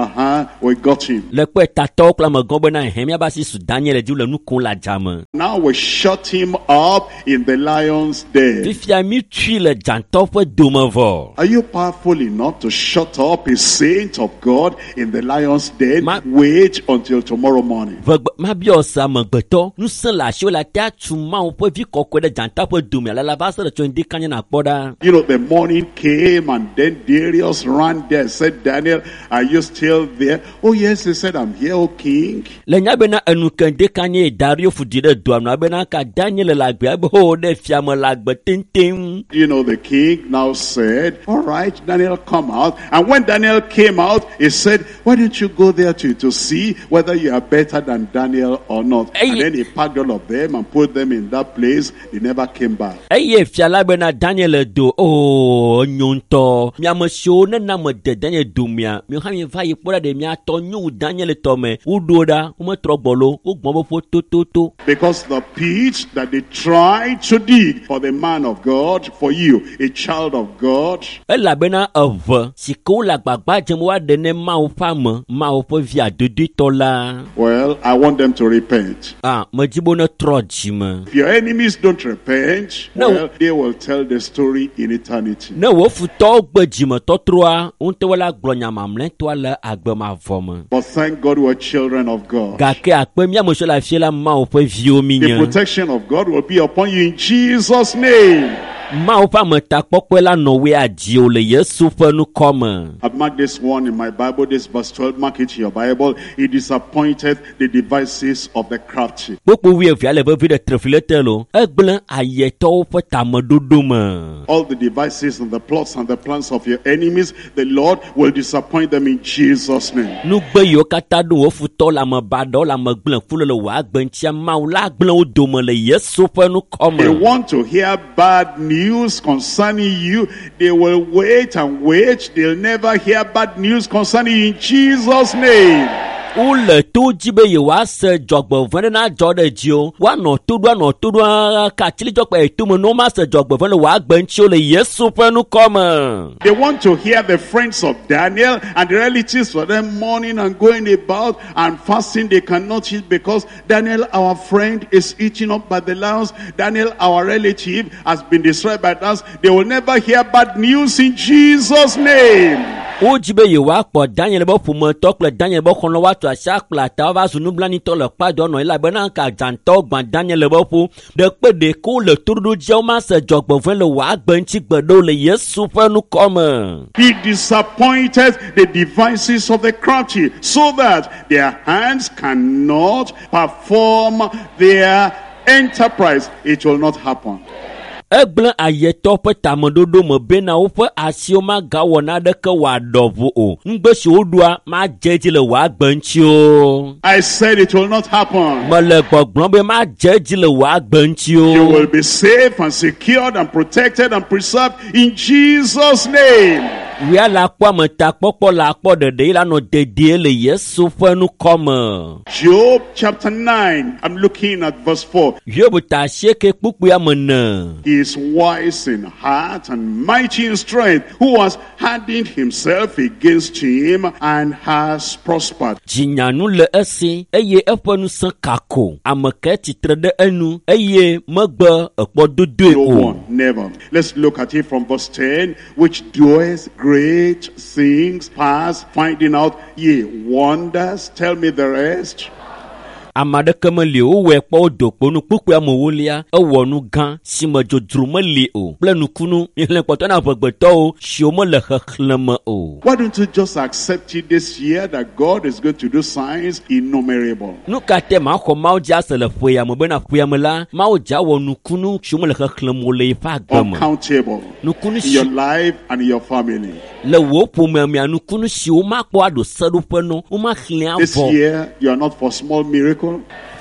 Speaker 2: we got him.
Speaker 1: Le kpe tatɔwo kple amegãwo bena hɛ míabe asi su Daniel dzi le nu kom le adzame.
Speaker 2: Now we shut him up in the lion's den.
Speaker 1: Fifia mi tui le dzãtɔ ƒe dome vɔ.
Speaker 2: Are you powerful enough to shut up a saint of God in the lion's den? Wait until tomorrow morning.
Speaker 1: Vegbe mabiɔ se amegbetɔ ŋusẽ le asiwò le ate atu Mawu ƒe vi kɔkɔe ɖe dzata ƒe dome ale la va se ɖe tso ŋdi kanya nàkpɔ ɖa.
Speaker 2: You know, the morning came and then Darius ran there and said, Daniel, are you still there? Oh yes, he said, I'm here, O king.
Speaker 1: Le nya bena enu ke ŋdi kanye Dario fu di ɖe doa nu abena ka Daniel le agbe abe ho ɖe fiame le agbe teŋteŋ.
Speaker 2: You know, the king now said, all right, Daniel, come out. And when Daniel came out, he said, why don't you go there to see whether you are better than Daniel or not?
Speaker 1: Hey.
Speaker 2: And then he packed all of them and put them in that place. They never came back.
Speaker 1: Eye fia la bena Daniel do o nyo ŋutɔ. Miame siwo nena me de Daniel domea, miwo hã mieva yi kpɔ ɖa ɖe miatɔ nyo wu Daniel tɔ me. Woɖo ɖa, wometrɔ gbɔ lo, wogbɔn be ƒo tototo.
Speaker 2: Because the pit that they tried to dig for the man of God, for you, a child of God,
Speaker 1: Elabena eve si ke wole agbagba dzem woaɖe ne Mawu ƒe ame, Mawu ƒe vi adodoetɔ la.
Speaker 2: well, I want them to repent.
Speaker 1: Ah, medzi be wonetrɔ dzime.
Speaker 2: If your enemies don't repent,
Speaker 1: No.
Speaker 2: well, they will tell the story in eternity.
Speaker 1: Ne wò futɔwo gbe dzimetɔtrɔa, wo ŋutɔ la gblɔ nya mamlɛtɔa le agbe mavɔ me.
Speaker 2: But thank God we're children of God.
Speaker 1: Gake akpe mía ame siwo le afia la Mawu ƒe viwo mi
Speaker 2: The
Speaker 1: nye.
Speaker 2: protection of God will be upon you in Jesus' name.
Speaker 1: Mawu ƒe ametakpɔkpɔe la nɔ woe adziwò le Yesu ƒe ŋkɔ me.
Speaker 2: I've marked this one in my Bible, this verse 12. Mark it in your Bible. He disappointed the devices of the crafty.
Speaker 1: Kpukpui wuievea le vevi ɖe trefli le te lo. Egblẽ ayetɔwo ƒe tameɖoɖo me.
Speaker 2: All the devices and the plots and the plans of your enemies, the Lord will disappoint them in Jesus' name.
Speaker 1: Nugbe yiwo katã ɖo wò futɔwo le ame baɖawo le ame gblẽku le le wò agbe ŋutia, Mawu la gblẽ wo dome le Yesu ƒe ŋkɔ
Speaker 2: They
Speaker 1: me.
Speaker 2: want to hear bad news concerning you. They will wait and wait. They'll never hear bad news concerning you in Jesus' name.
Speaker 1: Wole to dzi be yewoase dzɔgbevɔ̃e ɖe nadzɔ ɖe dziwò. Woanɔ to ɖo anɔ to ɖo ka atsilidzɔkpe yi tome ne womase dzɔgbevɔ̃e le wò agbe ŋuti o le Yesu ƒe ŋkɔ me.
Speaker 2: They want to hear the friends of Daniel and the relatives for them mourning and going about and fasting. They cannot eat because Daniel, our friend, is eaten up by the lions. Daniel, our relative, has been destroyed by us. They will never hear bad news in Jesus' name.
Speaker 1: Wodzi be yewoakpɔ Daniel be ƒometɔ kple Daniel be xɔlɔ̃ woatu asi akpla ta woava zu nublanuitɔ le kpadɔ nɔ elabena ka dzãtɔwo gbã Daniel be ƒo. Ɖekpe ɖeke wole toɖoɖo dzia womase dzɔgbevɔ̃e le wò agbe ŋuti gbe ɖe o le Yesu ƒe ŋkɔ me.
Speaker 2: He disappointed the devices of the crafty so that their hands cannot perform their enterprise. It will not happen.
Speaker 1: Egblẽ ayetɔ ƒe tameɖoɖo me bena woƒe asiwo magawɔ naneke wòaɖɔ ʋu o. Nugbe si woɖoa madze edzi le wò agbe ŋuti o.
Speaker 2: I said it will not happen.
Speaker 1: Mele gbɔgblɔm be madze edzi le wò agbe ŋuti
Speaker 2: You
Speaker 1: o.
Speaker 2: will be safe and secured and protected and preserved in Jesus' name.
Speaker 1: Wia la kpɔ ametakpɔkpɔ la akpɔ ɖeɖe yi la nɔ dedie le Yesu ƒe ŋkɔ me.
Speaker 2: Job chapter 9, I'm looking at verse 4.
Speaker 1: Hiob ta asieke kpukpui ame ene.
Speaker 2: He is wise in heart and mighty in strength, who has hardened himself against him and has prospered.
Speaker 1: Dzinyanu le esi eye eƒe ŋusẽ kako. Ame ke tsitre ɖe enu eye megbe ekpɔ dodoe
Speaker 2: No
Speaker 1: o.
Speaker 2: one, never. Let's look at it from verse 10, which doeth great things past finding out, ye wonders. Tell me the rest.
Speaker 1: Ame aɖeke meli o, wowɔe kpɔ wodo kpo nu kpukpui amewolia ewɔ nu gã si me dzodzro meli o kple nukunu mixlẽ kpɔtɔ na amegbetɔwo siwo mele xexlẽme o.
Speaker 2: Why don't you just accept it this year that God is going to do signs innumerable?
Speaker 1: Nu ka te maxɔ Mawu dzi ase le ƒe ya me bena ƒe ya me la Mawu dza wɔ nukunu siwo mele xexlẽme o le yeƒe agbe me.
Speaker 2: Uncountable
Speaker 1: Nukunu
Speaker 2: in
Speaker 1: si
Speaker 2: your life and in your family.
Speaker 1: le wò ƒomea mea nukunu siwo makpɔ aɖo seɖoƒe nɔ womaxlẽ
Speaker 2: This
Speaker 1: avɔ.
Speaker 2: year, you are not for small miracle.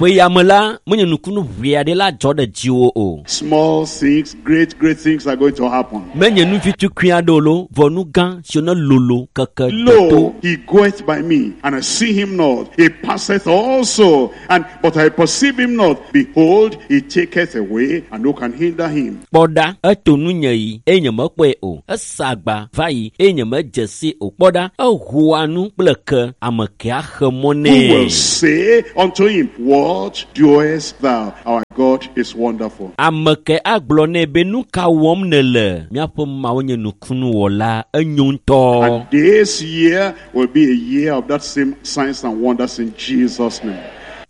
Speaker 1: Ƒe ya me la menye nukunu ʋee aɖe la dzɔ ɖe dziwò o.
Speaker 2: Small things, great, great things are going to happen.
Speaker 1: Menye nu vitukui aɖewo lo vɔ nu gã siwo ne lolo keke deto.
Speaker 2: Lo, he goeth by me, and I see him not. He passeth also, and but I perceive him not. Behold, he taketh away, and who can hinder him?
Speaker 1: Kpɔ ɖa, eto nunye yi eye nyemekpɔe o. Esa agba va yi eye nyemedze si o. Kpɔ ɖa, ehoa nu kple ke, ame ke axe mɔ
Speaker 2: Who
Speaker 1: nɛ.
Speaker 2: will say unto him, What doest thou? Our God is wonderful.
Speaker 1: Ame ke agblɔ nɛ be nu ka wɔm nèle? Míaƒe Mawu nye nukunuwɔla, enyo ŋutɔ.
Speaker 2: And this year will be a year of that same signs and wonders in Jesus' name.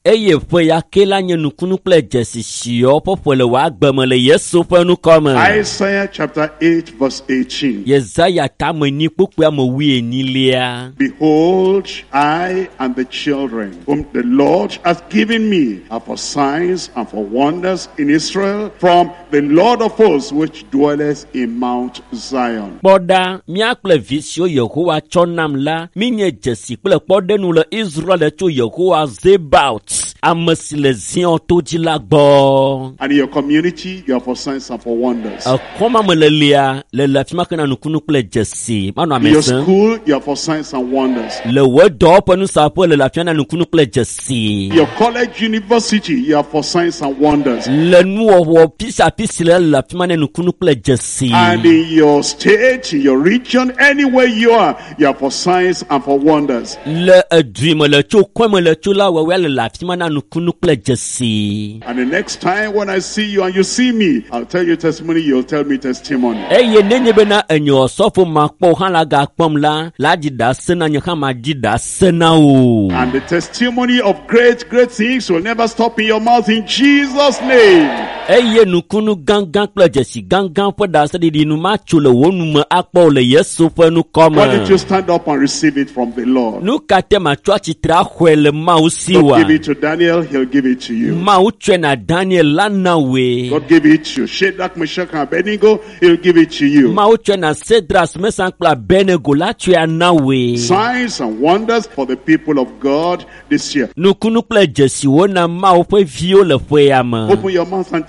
Speaker 1: Eye ƒe ya ke la nye nukunu kple dzesi siwo ƒe ƒe le wò agbe me le Yesu ƒe ŋkɔ me.
Speaker 2: Isaiah chapter 8, verse 18.
Speaker 1: Yesaya tame enyi kpukpui ame wuienyilia.
Speaker 2: Behold, I and the children whom the Lord hath given me are for signs and for wonders in Israel from the Lord of hosts which dwelleth in Mount Zion.
Speaker 1: Kpɔ ɖa, mía kple vi siwo Yehowa tsɔ nam la, míenye dzesi kple kpɔɖenu le Israel tso Yehowa Zebaot, ame si le Zion to dzi la gbɔ.
Speaker 2: And in your community, you are for signs and for wonders.
Speaker 1: Ekɔma me lelia le le afi ma ke na nukunu kple dzesi manɔ
Speaker 2: In
Speaker 1: ame
Speaker 2: your
Speaker 1: sẽm.
Speaker 2: school, you are for signs and wonders.
Speaker 1: Le wò dɔwɔƒe nusaƒe le le afi ma na nukunu kple dzesi.
Speaker 2: In your college, university, you are for signs and wonders.
Speaker 1: Le nuwɔwɔ pisiapisi le le afi ma na nukunu kple dzesi.
Speaker 2: And in your state, in your region, anywhere you are for signs and for wonders.
Speaker 1: Le edui me le tso kɔe me le tso la wɔwɔa le le afi ma na nukunu kple dzesi.
Speaker 2: And the next time when I see you and you see me, I'll tell you testimony, you'll tell me testimony.
Speaker 1: Eye nenye bena enye osɔfo makpɔ hã la gakpɔm la, la dzi ɖase na nye hã madzi ɖase na wò.
Speaker 2: And the testimony of great, great things will never stop in your mouth in Jesus' name.
Speaker 1: Eye nukunu gãgã kple dzesi gãgã ƒe ɖaseɖiɖi nu matso le wò nume akpɔ o le Yesu ƒe ŋkɔ
Speaker 2: Why don't you
Speaker 1: me.
Speaker 2: stand up and receive it from the Lord?
Speaker 1: Nu ka te matsɔ atsitre axɔe le Mawu si
Speaker 2: God
Speaker 1: wa?
Speaker 2: give it to Daniel, he'll give it to you.
Speaker 1: Mawu tsɔe na Daniel la na wòe.
Speaker 2: God give it to Shadrach, Meshach, and Abednego, he'll give it to you.
Speaker 1: Mawu tsɔe na Sedras, Mesan kple Abednego la tsɔe ana wòe.
Speaker 2: Signs and wonders for the people of God this year.
Speaker 1: Nukunu kple dzesiwo na Mawu ƒe viwo le ƒe ya me.
Speaker 2: Open your mouth and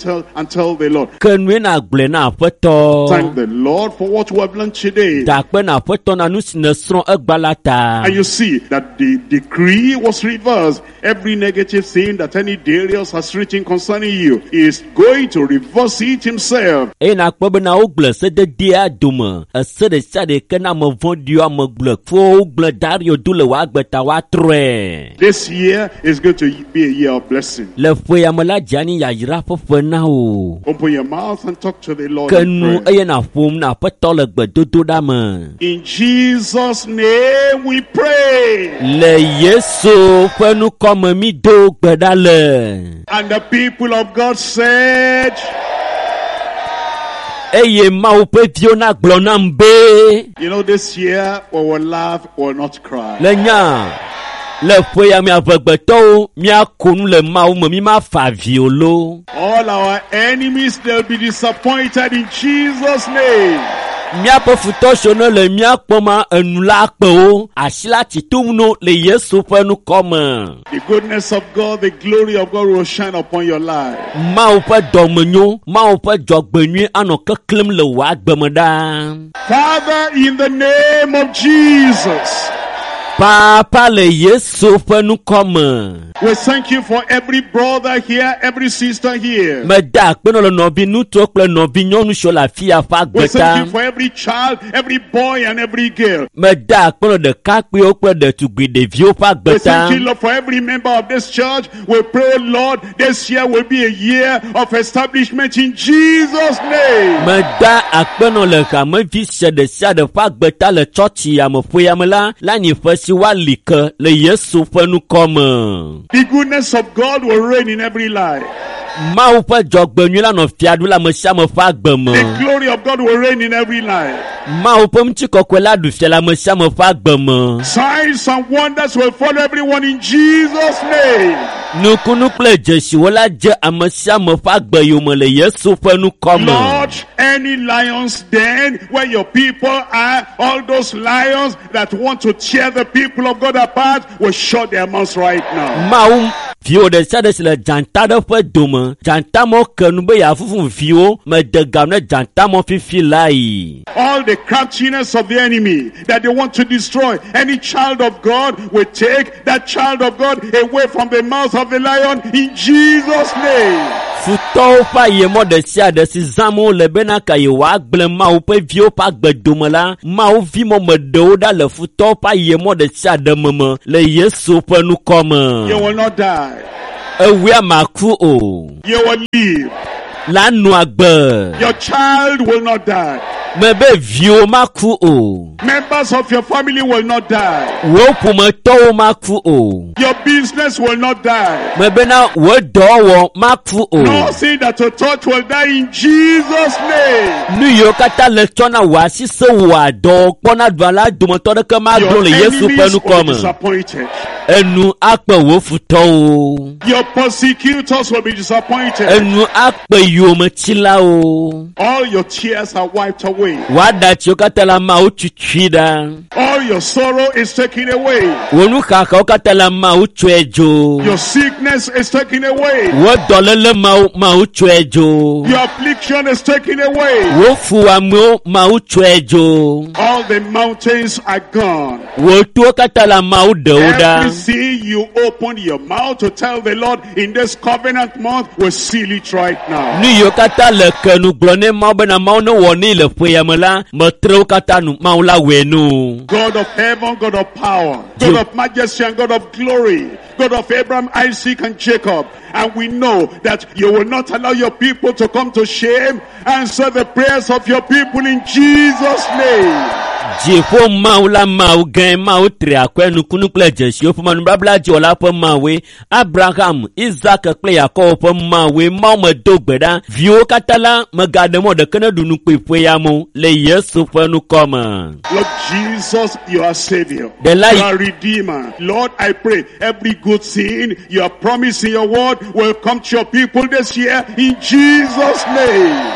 Speaker 2: tell the Lord.
Speaker 1: Ke nue na gblɔe na Aƒetɔ.
Speaker 2: Thank the Lord for what we have learned today.
Speaker 1: Da akpe na Aƒetɔ na nu si nèsrɔ̃ egba la ta.
Speaker 2: And you see that the decree was reversed. Every negative thing that any Darius has written concerning you is going to reverse it himself.
Speaker 1: Eye nakpɔ bena wogblẽ sededea dome. Ese ɖe sia ɖe ke na ame vɔ̃ɖiwo, ame gblẽkuwo wogblẽ Dario do le wò agbe ta woatrɔe.
Speaker 2: This year is going to be a year of blessing.
Speaker 1: Le ƒe ya me la dze anyi yayra ƒe ƒe na wò.
Speaker 2: Open your mouth and talk to the Lord.
Speaker 1: Ke
Speaker 2: in
Speaker 1: nu
Speaker 2: prayer.
Speaker 1: eye nàƒom na Aƒetɔ le gbedodoɖa me.
Speaker 2: In Jesus' name we pray.
Speaker 1: Le Yesu ƒe ŋkɔ me mi do gbe ɖa le.
Speaker 2: And the people of God said,
Speaker 1: Eye Mawu ƒe viwo nagblɔ nam be.
Speaker 2: You know, this year we will laugh, we will not cry.
Speaker 1: Le nya le ƒe ya me amegbetɔwo míako nu le Mawu me mi mafa avi o lo.
Speaker 2: All our enemies, they'll be disappointed in Jesus' name.
Speaker 1: Míaƒe futɔ siwo ne le mía kpɔm enu la kpe wo asi la tsi tom no le Yesu ƒe ŋkɔ me.
Speaker 2: The goodness of God, the glory of God will shine upon your life.
Speaker 1: Mawu ƒe dɔmenyo, Mawu ƒe dzɔgbenyui anɔ keklẽm le wò agbe me ɖaa.
Speaker 2: Father, in the name of Jesus,
Speaker 1: Papa le Yesu ƒe ŋkɔ me.
Speaker 2: we thank you for every brother here, every sister here.
Speaker 1: Meda akpe nɔ le nɔvi ŋutsuwo kple nɔvi nyɔnu siwo le afi ya ƒe
Speaker 2: We
Speaker 1: agbe
Speaker 2: thank
Speaker 1: ta.
Speaker 2: you for every child, every boy, and every girl.
Speaker 1: Meda akpe nɔ ɖekakpuiwo kple ɖetugbui ɖeviwo ƒe agbe
Speaker 2: We
Speaker 1: ta.
Speaker 2: thank you, Lord, for every member of this church. We pray, Lord, this year will be a year of establishment in Jesus' name.
Speaker 1: Meda akpe nɔ le hamevi sia ɖe sia ɖe ƒe agbe ta le tsɔtsi ya me ƒe ya me la, le anyi ƒe asi woali ke le Yesu ƒe ŋkɔ me.
Speaker 2: The goodness of God will reign in every life.
Speaker 1: Mawu ƒe dzɔgbenyui la nɔ fia ɖum le ame sia ame ƒe agbe me.
Speaker 2: The glory of God will reign in every life.
Speaker 1: Mawu ƒe ŋutikɔkɔe la ɖu fia le ame sia ame ƒe agbe me.
Speaker 2: Signs and wonders will follow everyone in Jesus' name.
Speaker 1: Nukunu kple dzesiwo la dze ame sia ame ƒe agbe yome le Yesu ƒe ŋkɔ me.
Speaker 2: Lord, any lions den where your people are, all those lions that want to tear the people of God apart will shut their mouths right now.
Speaker 1: Mawu viwò ɖe sia ɖe si le dzata ɖe ƒe dome, dzatamɔ ke nu be yeafufu viwo mede gam ne dzatamɔ fifi lae.
Speaker 2: All the craftiness of the enemy that they want to destroy any child of God will take that child of God away from the mouth of the lion in Jesus' name.
Speaker 1: Futɔwo ƒe ayemɔ ɖe sia ɖe si zãm wole bena ka yewoagblẽ Mawu ƒe viwo ƒe agbe dome la, Mawu vimɔ meɖe wo ɖa le futɔwo ƒe ayemɔ ɖe sia ɖe me me le Yesu ƒe ŋkɔ me.
Speaker 2: You will not die.
Speaker 1: Ewia maku o.
Speaker 2: You will live.
Speaker 1: La nɔ agbe.
Speaker 2: Your child will not die.
Speaker 1: Mebe viwo maku o.
Speaker 2: Members of your family will not die.
Speaker 1: Wò ƒometɔwo maku o.
Speaker 2: Your business will not die.
Speaker 1: Mebena wò dɔwɔwɔ maku o.
Speaker 2: Nothing that you touch will die in Jesus' name.
Speaker 1: Nu yiwo katã le tsɔ na wò asi se wò adɔ kpɔna ɖua la dometɔ ɖeke magblɔ
Speaker 2: Your
Speaker 1: le Yesu ƒe
Speaker 2: enemies
Speaker 1: ŋkɔ
Speaker 2: will be
Speaker 1: me.
Speaker 2: disappointed.
Speaker 1: Enu akpe wò futɔwo.
Speaker 2: Your persecutors will be disappointed.
Speaker 1: Enu akpe yometsilawo.
Speaker 2: All your tears are wiped away.
Speaker 1: Wò aɖatsiwo katã le ameawo tutui ɖa.
Speaker 2: All your sorrow is taken away.
Speaker 1: Wò nuxaxawo katã le ameawo tsɔe dzo.
Speaker 2: Your sickness is taken away.
Speaker 1: Wò dɔléle mawo mawo tsɔe dzo.
Speaker 2: Your affliction is taken away.
Speaker 1: Wò fuwɔamewo mawo tsɔe dzo.
Speaker 2: All the mountains are gone.
Speaker 1: Wò towo katã le ameawo ɖe wo ɖa.
Speaker 2: Everything you open your mouth to tell the Lord in this covenant month will seal it right now.
Speaker 1: Nu yiwo katã le ke nu gblɔ ne Mawu bena Mawu ne wɔ nɛ le ƒe ya me la, metre wo katã nu Mawu la wɔe nu.
Speaker 2: God of heaven, God of power, God of majesty and God of glory, God of Abraham, Isaac and Jacob. And we know that you will not allow your people to come to shame. Answer the prayers of your people in Jesus' name.
Speaker 1: Dziƒo Mawu la Mawu gãe, Mawu tri akɔe nukunu kple dzesiwo ƒe nubabla dziwɔla ƒe Mawue, Abraham, Isaac kple Yakobo ƒe Mawue, Mawu medo gbe ɖa. Viwo katã la megaɖe mɔ ɖeke ne ɖu nu kpui ƒe ya me o, le Yesu ƒe ŋkɔ me.
Speaker 2: Lord Jesus, you are Savior.
Speaker 1: The light-
Speaker 2: You are Redeemer. Lord, I pray every good thing you have promised in your word will come to your people this year in Jesus' name.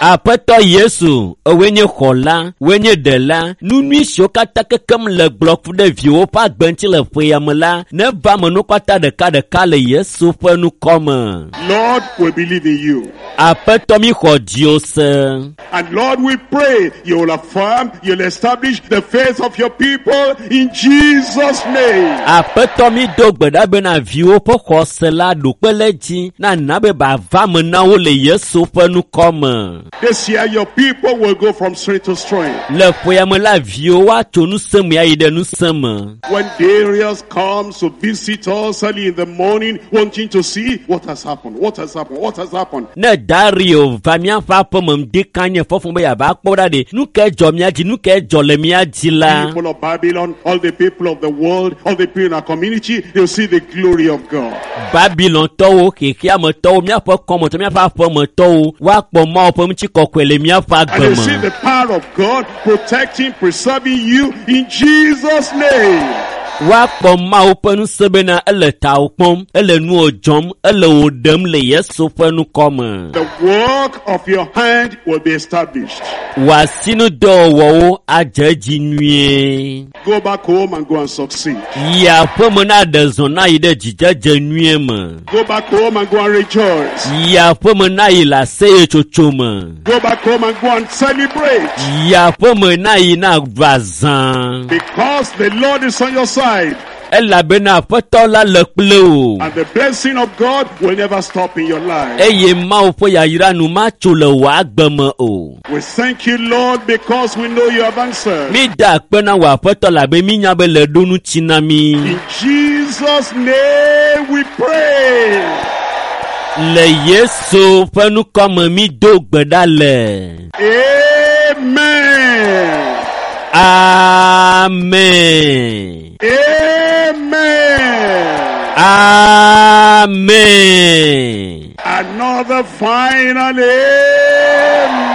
Speaker 1: Aƒetɔ Yesu, ewoe nye xɔla, woe nye ɖela, nu nyui siwo katã kekem le gblɔ ku ɖe viwo ƒe agbe ŋuti le ƒe ya me la, neva me nu katã ɖekaɖeka le Yesu ƒe ŋkɔ me.
Speaker 2: Lord, we believe in you.
Speaker 1: Aƒetɔ mi xɔ dziwò se.
Speaker 2: And Lord, we pray you will affirm, you'll establish the faith of your people in Jesus' name.
Speaker 1: Aƒetɔ mi do gbe ɖa bena viwo ƒe xɔse la ɖo kpe le dzi na na be bava me na wo le Yesu ƒe ŋkɔ me.
Speaker 2: This year, your people will go from strength to strength.
Speaker 1: Le ƒe ya me la viwo woatso ŋusẽ me ayi ɖe ŋusẽ me.
Speaker 2: When Darius comes to visit us early in the morning, wanting to see what has happened, what has happened, what has happened.
Speaker 1: Ne Dario va míaƒe aƒeme ŋdi kanye fɔfɔ be yeava kpɔ ɖa ɖe, nu kae dzɔ mía dzi, nu kae dzɔ le mía dzi la?
Speaker 2: People of Babylon, all the people of the world, all the people in our community, they'll see the glory of God.
Speaker 1: Babilontɔwo, xexeametɔwo, míaƒe kɔmetɔ, míaƒe aƒemetɔwo, woakpɔ Mawu ƒe ŋutikɔkɔe le míaƒe
Speaker 2: And
Speaker 1: agbe
Speaker 2: they'll see
Speaker 1: me.
Speaker 2: the power of God protecting, preserving you in Jesus' name.
Speaker 1: Woakpɔ Mawu ƒe ŋusẽ bena ele tawò kpɔm, ele nuwò dzɔm, ele wò ɖem le Yesu ƒe ŋkɔ me.
Speaker 2: The work of your hand will be established.
Speaker 1: Wò asinudɔwɔwɔwo adze edzi nyuie.
Speaker 2: Go back home and go and succeed.
Speaker 1: Yi aƒeme na ɖe zɔ na yi ɖe dzidzedze nyuie me.
Speaker 2: Go back home and go and rejoice.
Speaker 1: Yi aƒeme na yi le aseyetsotso me.
Speaker 2: Go back home and go and celebrate.
Speaker 1: Yi aƒeme na yi na ɖu azã.
Speaker 2: Because the Lord is on your side.
Speaker 1: Elabena Aƒetɔ la le kple wò.
Speaker 2: And the blessing of God will never stop in your life.
Speaker 1: Eye Mawu ƒe yayra nu matso le wò agbe me o.
Speaker 2: We thank you, Lord, because we know you have answered.
Speaker 1: Mi da akpe na wò Aƒetɔ labe mínya be le ɖo ŋuti na mí.
Speaker 2: In Jesus' name we pray.
Speaker 1: Le Yesu ƒe ŋkɔ me mi do gbe ɖa le.
Speaker 2: Amen.
Speaker 1: Amen.
Speaker 2: Amen.
Speaker 1: Amen.
Speaker 2: Another final amen.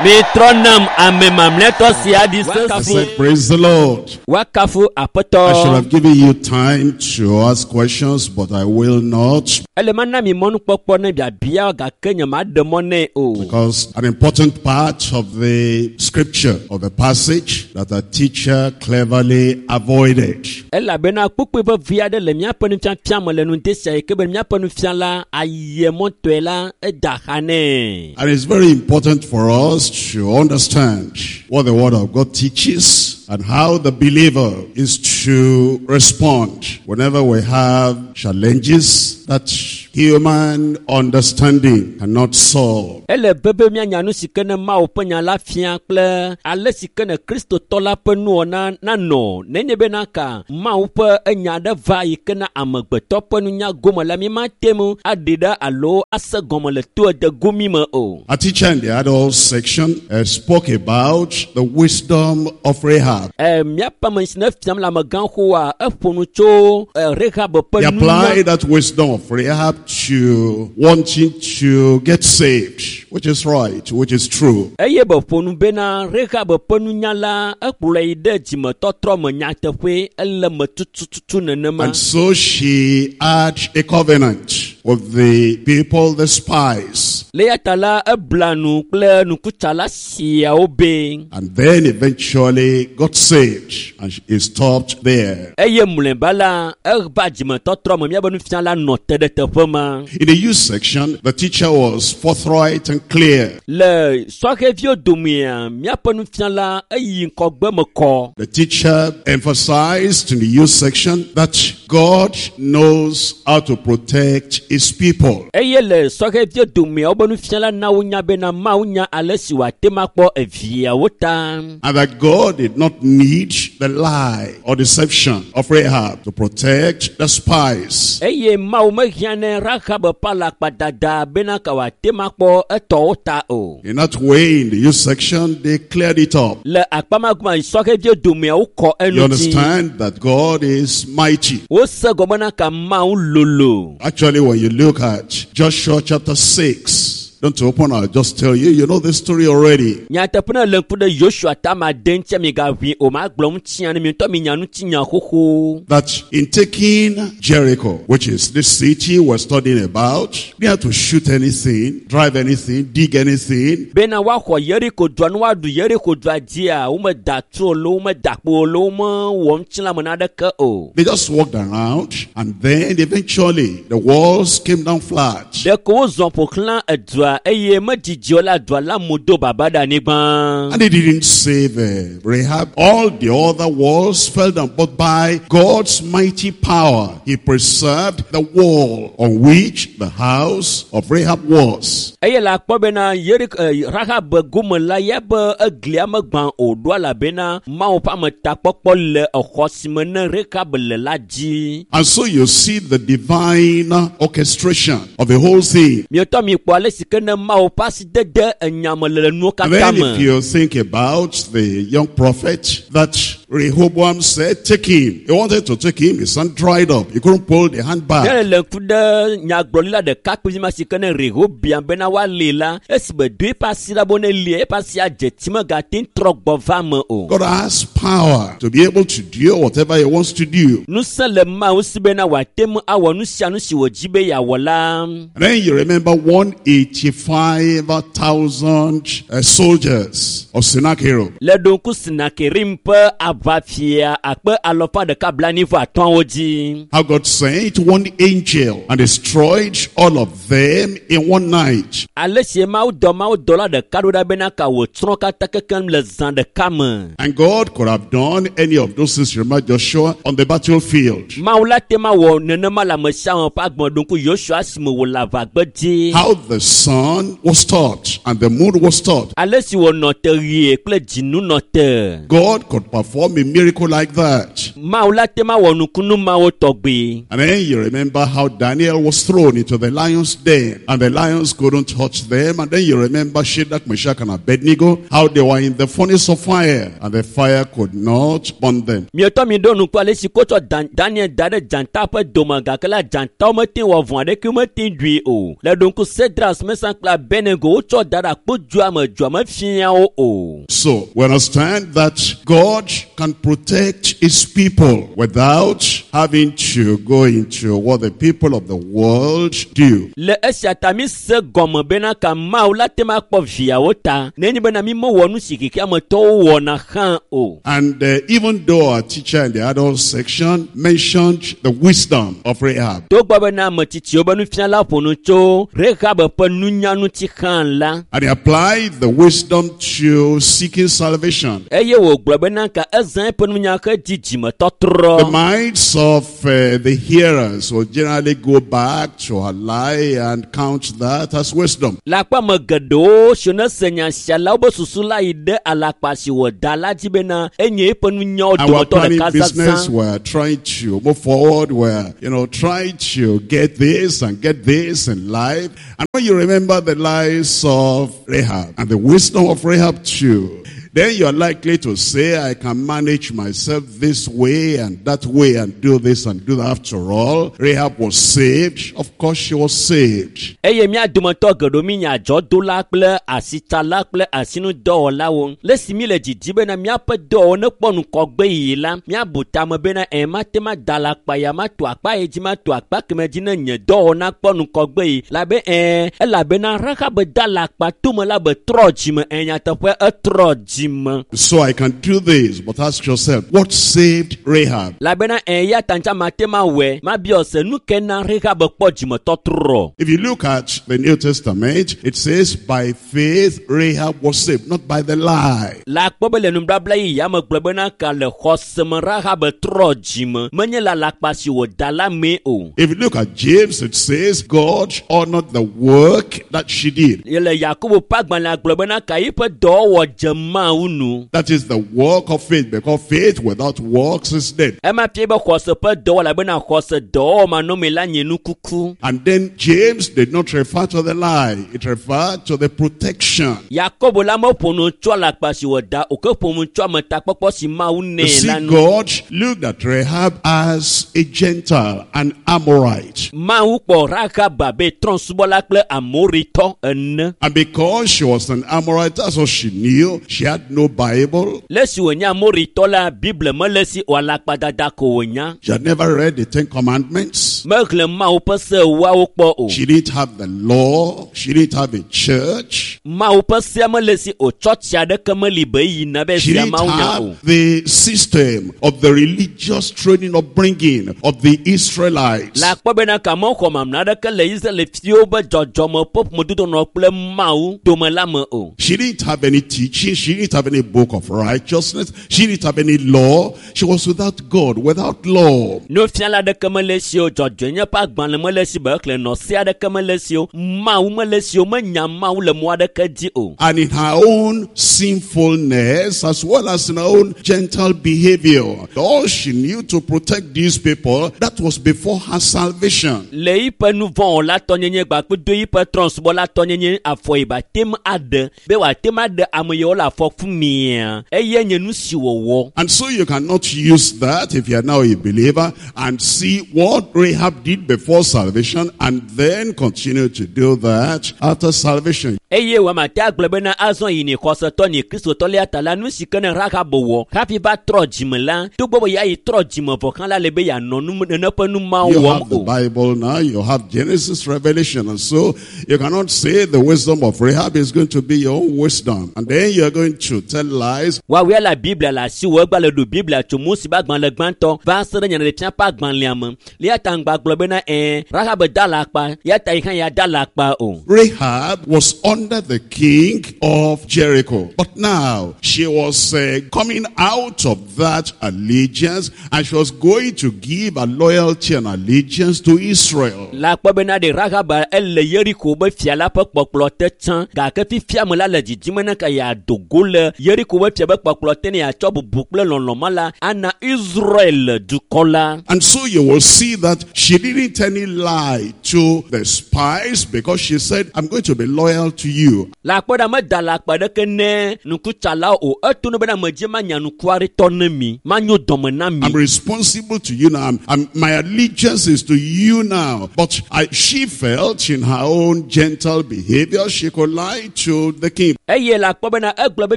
Speaker 1: Mitrɔ nam ame mamlɛtɔ sia ɖi
Speaker 2: I
Speaker 1: sesĩe.
Speaker 2: said, Praise the Lord.
Speaker 1: Woakafu
Speaker 2: I should
Speaker 1: aƒetɔ.
Speaker 2: have given you time to ask questions, but I will not
Speaker 1: Ele mana mi mɔnukpɔkpɔ ne biabia gake nye maɖe mɔ nɛ o.
Speaker 2: because an important part of the scripture of the passage that our teacher cleverly avoided.
Speaker 1: Elabena kpukpui vevi aɖe le míaƒe nufiafia me le nu sia yi ke be míaƒe nufiala ayemɔtɔe la eda xa nɛ.
Speaker 2: And it's very important for us to understand what the Word of God teaches and how the believer is to respond whenever we have challenges that human understanding cannot solve.
Speaker 1: Ele be be míanya nu si ke ne Mawu ƒe nya la fia kple ale si ke ne Kristotɔ la ƒe nuwɔna nanɔ nenye bena ka Mawu ƒe enya aɖe va yi ke na amegbetɔ ƒe nunya gome la mímate ŋu aɖi ɖe alo ase gɔme le to ede gomi me o.
Speaker 2: Our teacher in the adult section spoke about the wisdom of Rahab.
Speaker 1: E, míaƒe ame si ne fiam le amegãxoa eƒo nu tso e, Rahab ƒe
Speaker 2: He
Speaker 1: nunya
Speaker 2: applied that wisdom of Rahab to wanting to get saved, which is right, which is true.
Speaker 1: Eye be ƒo nu bena Rahab ƒe nunya la ekplɔe yi ɖe dzimetɔtrɔ me nyateƒe ele me tutututu nenema.
Speaker 2: And so she had a covenant with the people, the spies.
Speaker 1: Le eya ta la ebla nu kple nukutsala siawo be
Speaker 2: And then eventually got saved. And she stopped there.
Speaker 1: Eye mlɔeba la eva dzimetɔtrɔ me míabe nufiala nɔ te ɖe teƒe ma.
Speaker 2: In the youth section, the teacher was forthright and clear.
Speaker 1: Le sɔhɛviwo domea míaƒe nufiala eyi ŋkɔgbe me kɔ.
Speaker 2: The teacher emphasized in the youth section that God knows how to protect his people.
Speaker 1: Eye le sɔhɛviwo domea wobe nufiala na wonya bena Mawu nya ale si wòate ŋu akpɔ eviawo ta.
Speaker 2: And that God did not need the lie or deception of Rahab to protect the spies.
Speaker 1: Eye Mawu mehiã ne Rahab ƒe alakpadada bena ka wòate ŋu akpɔ etɔwo ta o.
Speaker 2: In that way, in the youth section, they cleared it up.
Speaker 1: Le akpa ma gome sɔhɛviwo domea wokɔ
Speaker 2: You
Speaker 1: enu dzi.
Speaker 2: understand that God is mighty.
Speaker 1: Wose gɔme na ka Mawu lolo.
Speaker 2: Actually, when you look at Joshua chapter 6, don't open, I'll just tell you, you know this story already.
Speaker 1: Nyateƒe ne le ŋku ɖe Yosua ta ma de ŋutia migaʋui o magblɔ ŋutia ne mi ŋutɔ minya ŋutinya xoxo.
Speaker 2: That in taking Jericho, which is this city we're studying about, they had to shoot anything, drive anything, dig anything.
Speaker 1: Bena woaxɔ Yeriko dua ne woaɖu Yeriko dua dzia womeda tu o lo womeda kpo o lo womewɔ ŋutilãme naneke o.
Speaker 2: They just walked around, and then eventually the walls came down flat.
Speaker 1: Ɖeko wozɔ ƒo xlã edua eye medzidzi o la dua la mu do baba ɖe anyigba.
Speaker 2: And they didn't save Rahab. All the other walls fell down, but by God's mighty power, he preserved the wall on which the house of Rahab was.
Speaker 1: Eye le akpɔ bena Yeriko Rahab gome la ya be eglia megbã o ɖo elabena Mawu ƒe ametakpɔkpɔ le exɔ si me ne Rahab le la dzi.
Speaker 2: And so you see the divine orchestration of the whole thing.
Speaker 1: Mietɔ mi kpɔ ale si ke ne Mawu ƒe asidede enyame le nuwo
Speaker 2: And
Speaker 1: katã
Speaker 2: then if
Speaker 1: me.
Speaker 2: you think about the young prophet that Rehoboam said, take him. He wanted to take him. His hand dried up. He couldn't pull the hand
Speaker 1: Ne
Speaker 2: back.
Speaker 1: le ŋku ɖe nyagblɔɖila ɖekakpui ma si ke ne Rehoboam bena woalée la, esime do eƒe asi ɖa be ne lie, eƒe asia dze tsi megate ŋu trɔ gbɔ va me o.
Speaker 2: God has power to be able to do whatever he wants to do.
Speaker 1: Ŋusẽ le Mawu si bena wòate ŋu awɔ nu sia nu si wòdzi be yeawɔ la.
Speaker 2: And then you remember 185,000 soldiers of Sennacherib.
Speaker 1: Le ɖo ŋku Senakerim ƒe aʋafia akpe alɔfa ɖeka blaenyi-vɔ atɔ̃awo dzi.
Speaker 2: How God sent one angel and destroyed all of them in one night.
Speaker 1: Ale si Mawu dɔ Mawu dɔla ɖeka ɖo ɖa bena ka wòtsrɔ̃ katã kekeŋ le zã ɖeka me.
Speaker 2: And God could have done any of those things, remember Joshua, on the battlefield.
Speaker 1: Mawu la te ma wɔ nenema le ame sia ame ƒe agbe ɖo ŋku Yosua esime wòle aʋagbe dzi.
Speaker 2: How the sun was stopped and the moon was stopped.
Speaker 1: Ale si wònɔ te ɣie kple dzinu nɔ te.
Speaker 2: God could perform perform a miracle like that.
Speaker 1: Mawu la te ma wɔ nukunu mawo tɔgbi.
Speaker 2: And then you remember how Daniel was thrown into the lion's den, and the lions couldn't touch them. And then you remember Shadrach, Meshach, and Abednego, how they were in the furnace of fire, and the fire could not burn them.
Speaker 1: Mietɔ mi ɖo nuku ale si kotsɔ Dan Daniel da ɖe dzata ƒe dome gake la dzatawo mete wɔ vɔ̃ aɖeke mete ɖui o. Le ɖo ŋku Sedras, Mesan kple Abednego wotsɔ da ɖe akpodzoa me dzoa mefia wo o.
Speaker 2: So we understand that God can protect his people without having to go into what the people of the world do.
Speaker 1: Le esia ta mi se gɔme bena ka Mawu la te ma kpɔ viawo ta nenye bena mi mewɔ nu si xexeametɔwo wɔna hã o.
Speaker 2: And even though our teacher in the adult section mentioned the wisdom of Rahab,
Speaker 1: Togbɔ bena ametsitsiwo be nufiala ƒo nu tso Rahab ƒe nunya ŋuti hã la,
Speaker 2: and he applied the wisdom to seeking salvation.
Speaker 1: Eye wògblɔ bena ka ezã eƒe nunya hedi
Speaker 2: The
Speaker 1: dzimetɔtrɔ.
Speaker 2: minds of the hearers will generally go back to a lie and count that as wisdom.
Speaker 1: Le akpa me geɖewo si ne se nya sia la, wobe susu la yi ɖe alakpa si wòda la dzi bena enye eƒe nunyawo
Speaker 2: And we're
Speaker 1: dometɔ
Speaker 2: planning
Speaker 1: ɖeka
Speaker 2: business,
Speaker 1: zazã.
Speaker 2: we're trying to move forward, we're, trying to get this and get this in life. And when you remember the lies of Rahab and the wisdom of Rahab too, then you're likely to say, I can manage myself this way and that way and do this and do that. After all, Rahab was saved. Of course she was saved.
Speaker 1: Eye mía dometɔ geɖewo mi nye adzɔdola kple asitsala kple asinudɔwɔlawo. Le esi mi le didi bena míaƒe dɔwɔwɔ nekpɔ ŋgɔgbe yiyi la, míabu tame bena ɛ mate ma da le akpa ya mato akpa yi dzi mato akpa keme dzi ne nye dɔwɔwɔ nakpɔ ŋgɔgbe yi. Labe ɛ elabena Rahab da le akpa tome la be trɔ dzime ɛ nyateƒe etrɔ dzime.
Speaker 2: So I can do this, but ask yourself, what saved Rahab?
Speaker 1: Labena ɛ ya ta ŋtsa mate ma wɔe mabiɔ se nu ke na Rahab kpɔ dzimetɔtrɔ.
Speaker 2: If you look at the New Testament, it says, by faith Rahab was saved, not by the lie.
Speaker 1: Le akpɔ be le nubabla yi ya me gblɔ bena ka le xɔseme Rahab trɔ dzime menye le alakpa si wòda la mee o.
Speaker 2: If you look at James, it says, God honored the work that she did.
Speaker 1: Le Yakobo ƒe agbalẽa gblɔ bena ka yiƒe dɔwɔwɔ dze Mawu nu.
Speaker 2: That is the work of faith, because faith without works is dead.
Speaker 1: Ema fia be xɔse ƒe dɔwɔ elabena xɔse dɔwɔwɔ manɔmee la nye nukuku.
Speaker 2: And then James did not refer to the lie. It referred to the protection.
Speaker 1: Yakobo la meƒo nu tso alakpa si wòda o ke ƒo nu tso ametakpɔkpɔ si Mawu
Speaker 2: You
Speaker 1: nɛ
Speaker 2: see,
Speaker 1: la nu.
Speaker 2: God looked at Rahab as a Gentile, an Amorite.
Speaker 1: Mawu kpɔ Rahab abe trɔ̃subɔla kple Amoritɔ ene.
Speaker 2: And because she was an Amorite, that's all she knew. She had no Bible.
Speaker 1: Le esi wònye Amoritɔ la, Bible mele esi o alakpadada ko wònya.
Speaker 2: She had never read the Ten Commandments.
Speaker 1: Mexlẽ Mawu ƒe se ewoawo kpɔ o.
Speaker 2: She didn't have the law. She didn't have a church.
Speaker 1: Mawu ƒe sea mele esi o tsɔtsi aɖeke meli be yina be
Speaker 2: She
Speaker 1: sia
Speaker 2: didn't
Speaker 1: Mawu nya o.
Speaker 2: have the system of the religious training upbringing of the Israelites.
Speaker 1: Le akpɔ bena ka mexɔ mamla aɖeke le Israelviwo be dzɔdzɔme ƒe ƒomedodo kple Mawu dome la me o.
Speaker 2: She didn't have any teaching. She didn't have any book of righteousness. She didn't have any law. She was without God, without law.
Speaker 1: Nufiala aɖeke mele esi o, dzɔdzɔenye ƒe agbalẽ mele esi be exlẽ nɔ se aɖeke mele esi o, Mawu mele esi o, menya Mawu le mɔ aɖeke dzi o.
Speaker 2: And in her own sinfulness, as well as in her own gentle behavior, all she knew to protect these people, that was before her salvation.
Speaker 1: Le yiƒe nuvɔ̃wɔla tɔnyenye gbakple yiƒe trɔ̃subɔla tɔnyenye afɔ yi ba tem aɖe be wòate ŋu aɖe ame yiwo le afɔku mea eye nye nu si wòwɔ.
Speaker 2: And so you cannot use that if you are now a believer and see what Rahab did before salvation and then continue to do that after salvation.
Speaker 1: Eye wòamate agblɔ bena azɔ yi ni xɔsetɔ ni kristotɔ lia ta la nu si ke ne Rahab wɔ hafi va trɔ dzime la togbɔ be ya yi trɔ dzime vɔ hã la le be yeanɔ nu nene ƒe nu mawo
Speaker 2: You
Speaker 1: wɔm
Speaker 2: have the
Speaker 1: o.
Speaker 2: Bible now, you have Genesis, Revelation, and so you cannot say the wisdom of Rahab is going to be your own wisdom. And then you're going to tell lies.
Speaker 1: Woawoe le Biblia le asiwò egba le ɖu Biblia tso Mose ƒe agbalẽ gbãtɔ va se ɖe nyaɖeɖefia ƒe agbalẽa me. Ya ta ŋgba gblɔ bena ɛɛ Rahab da le akpa ya ta yi hã ya da le akpa o.
Speaker 2: Rahab was under the king of Jericho. But now she was coming out of that allegiance and she was going to give her loyalty and allegiance to Israel.
Speaker 1: Le akpɔ bena ɖe Rahab ele Yeriko be fia la ƒe kpɔkplɔ te tsã gake fifia me la le dzidzime ne ka yeado go le le Yeriko ƒe fia be kpɔkplɔ te ne yeatsɔ bubu kple lɔlɔ̃ ma la ana Israel dukɔ la.
Speaker 2: And so you will see that she didn't tell any lie to the spies because she said, "I'm going to be loyal to you."
Speaker 1: Le akpɔ ɖa meda le akpa ɖeke ne nukutsalawo o eto no bena medze manya nukuaritɔ ne mi manyo dɔme na mi.
Speaker 2: I'm responsible to you now. My allegiance is to you now. But she felt in her own gentle behavior she could lie to the king.
Speaker 1: Eye le akpɔ bena egblɔ be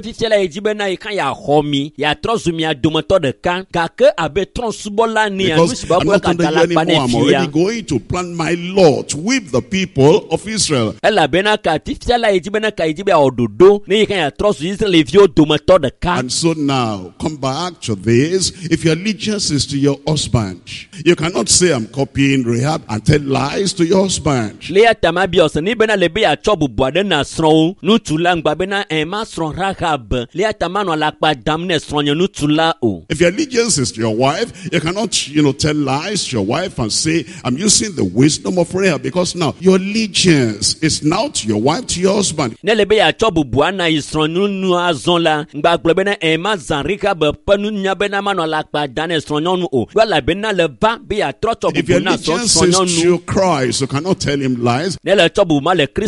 Speaker 1: fifia la yi dzi bena yi ka yeaxɔ mi yeatrɔ zu mia dometɔ ɖeka gake abe trɔ̃subɔla nea nu
Speaker 2: Because
Speaker 1: si
Speaker 2: I'm
Speaker 1: be
Speaker 2: not under
Speaker 1: gada
Speaker 2: you
Speaker 1: la kpa
Speaker 2: anymore.
Speaker 1: ne
Speaker 2: I'm
Speaker 1: fia.
Speaker 2: already going to plan my lot with the people of Israel.
Speaker 1: Elabena ka fifia la yi dzi bena ka yi dzi be yeawɔ ɖoɖo ne yi ka yeatrɔ zu Israelviwo dometɔ ɖeka.
Speaker 2: And so now, come back to this. If your allegiance is to your husband, you cannot say, "I'm copying Rahab," and tell lies to your husband.
Speaker 1: Le ya ta ma biɔ se ni bena le be yeatsɔ bubu aɖe na srɔ̃wo ŋutsu la ŋgba bena ɛ ma srɔ̃ Rahab le ya ta manɔ alakpa dam ne srɔ̃nye ŋutsu la o.
Speaker 2: If your allegiance is to your wife, you cannot tell lies to your wife and say, "I'm using the wisdom of Rahab," because now your allegiance is now to your wife, to your husband.
Speaker 1: Ne le be yeatsɔ bubu ana yi srɔ̃nyɔnu azɔ la ŋgba gblɔ bena ɛ ma zã Rahab ƒe nunya bena manɔ alakpa dam ne srɔ̃nyɔnu o elabena le va be yeatrɔ tsɔ
Speaker 2: If your
Speaker 1: bubu na srɔ̃
Speaker 2: allegiance is
Speaker 1: srɔ̃nyɔnu.
Speaker 2: to Christ, you cannot tell him lies.
Speaker 1: Ne le tsɔ bubu ma le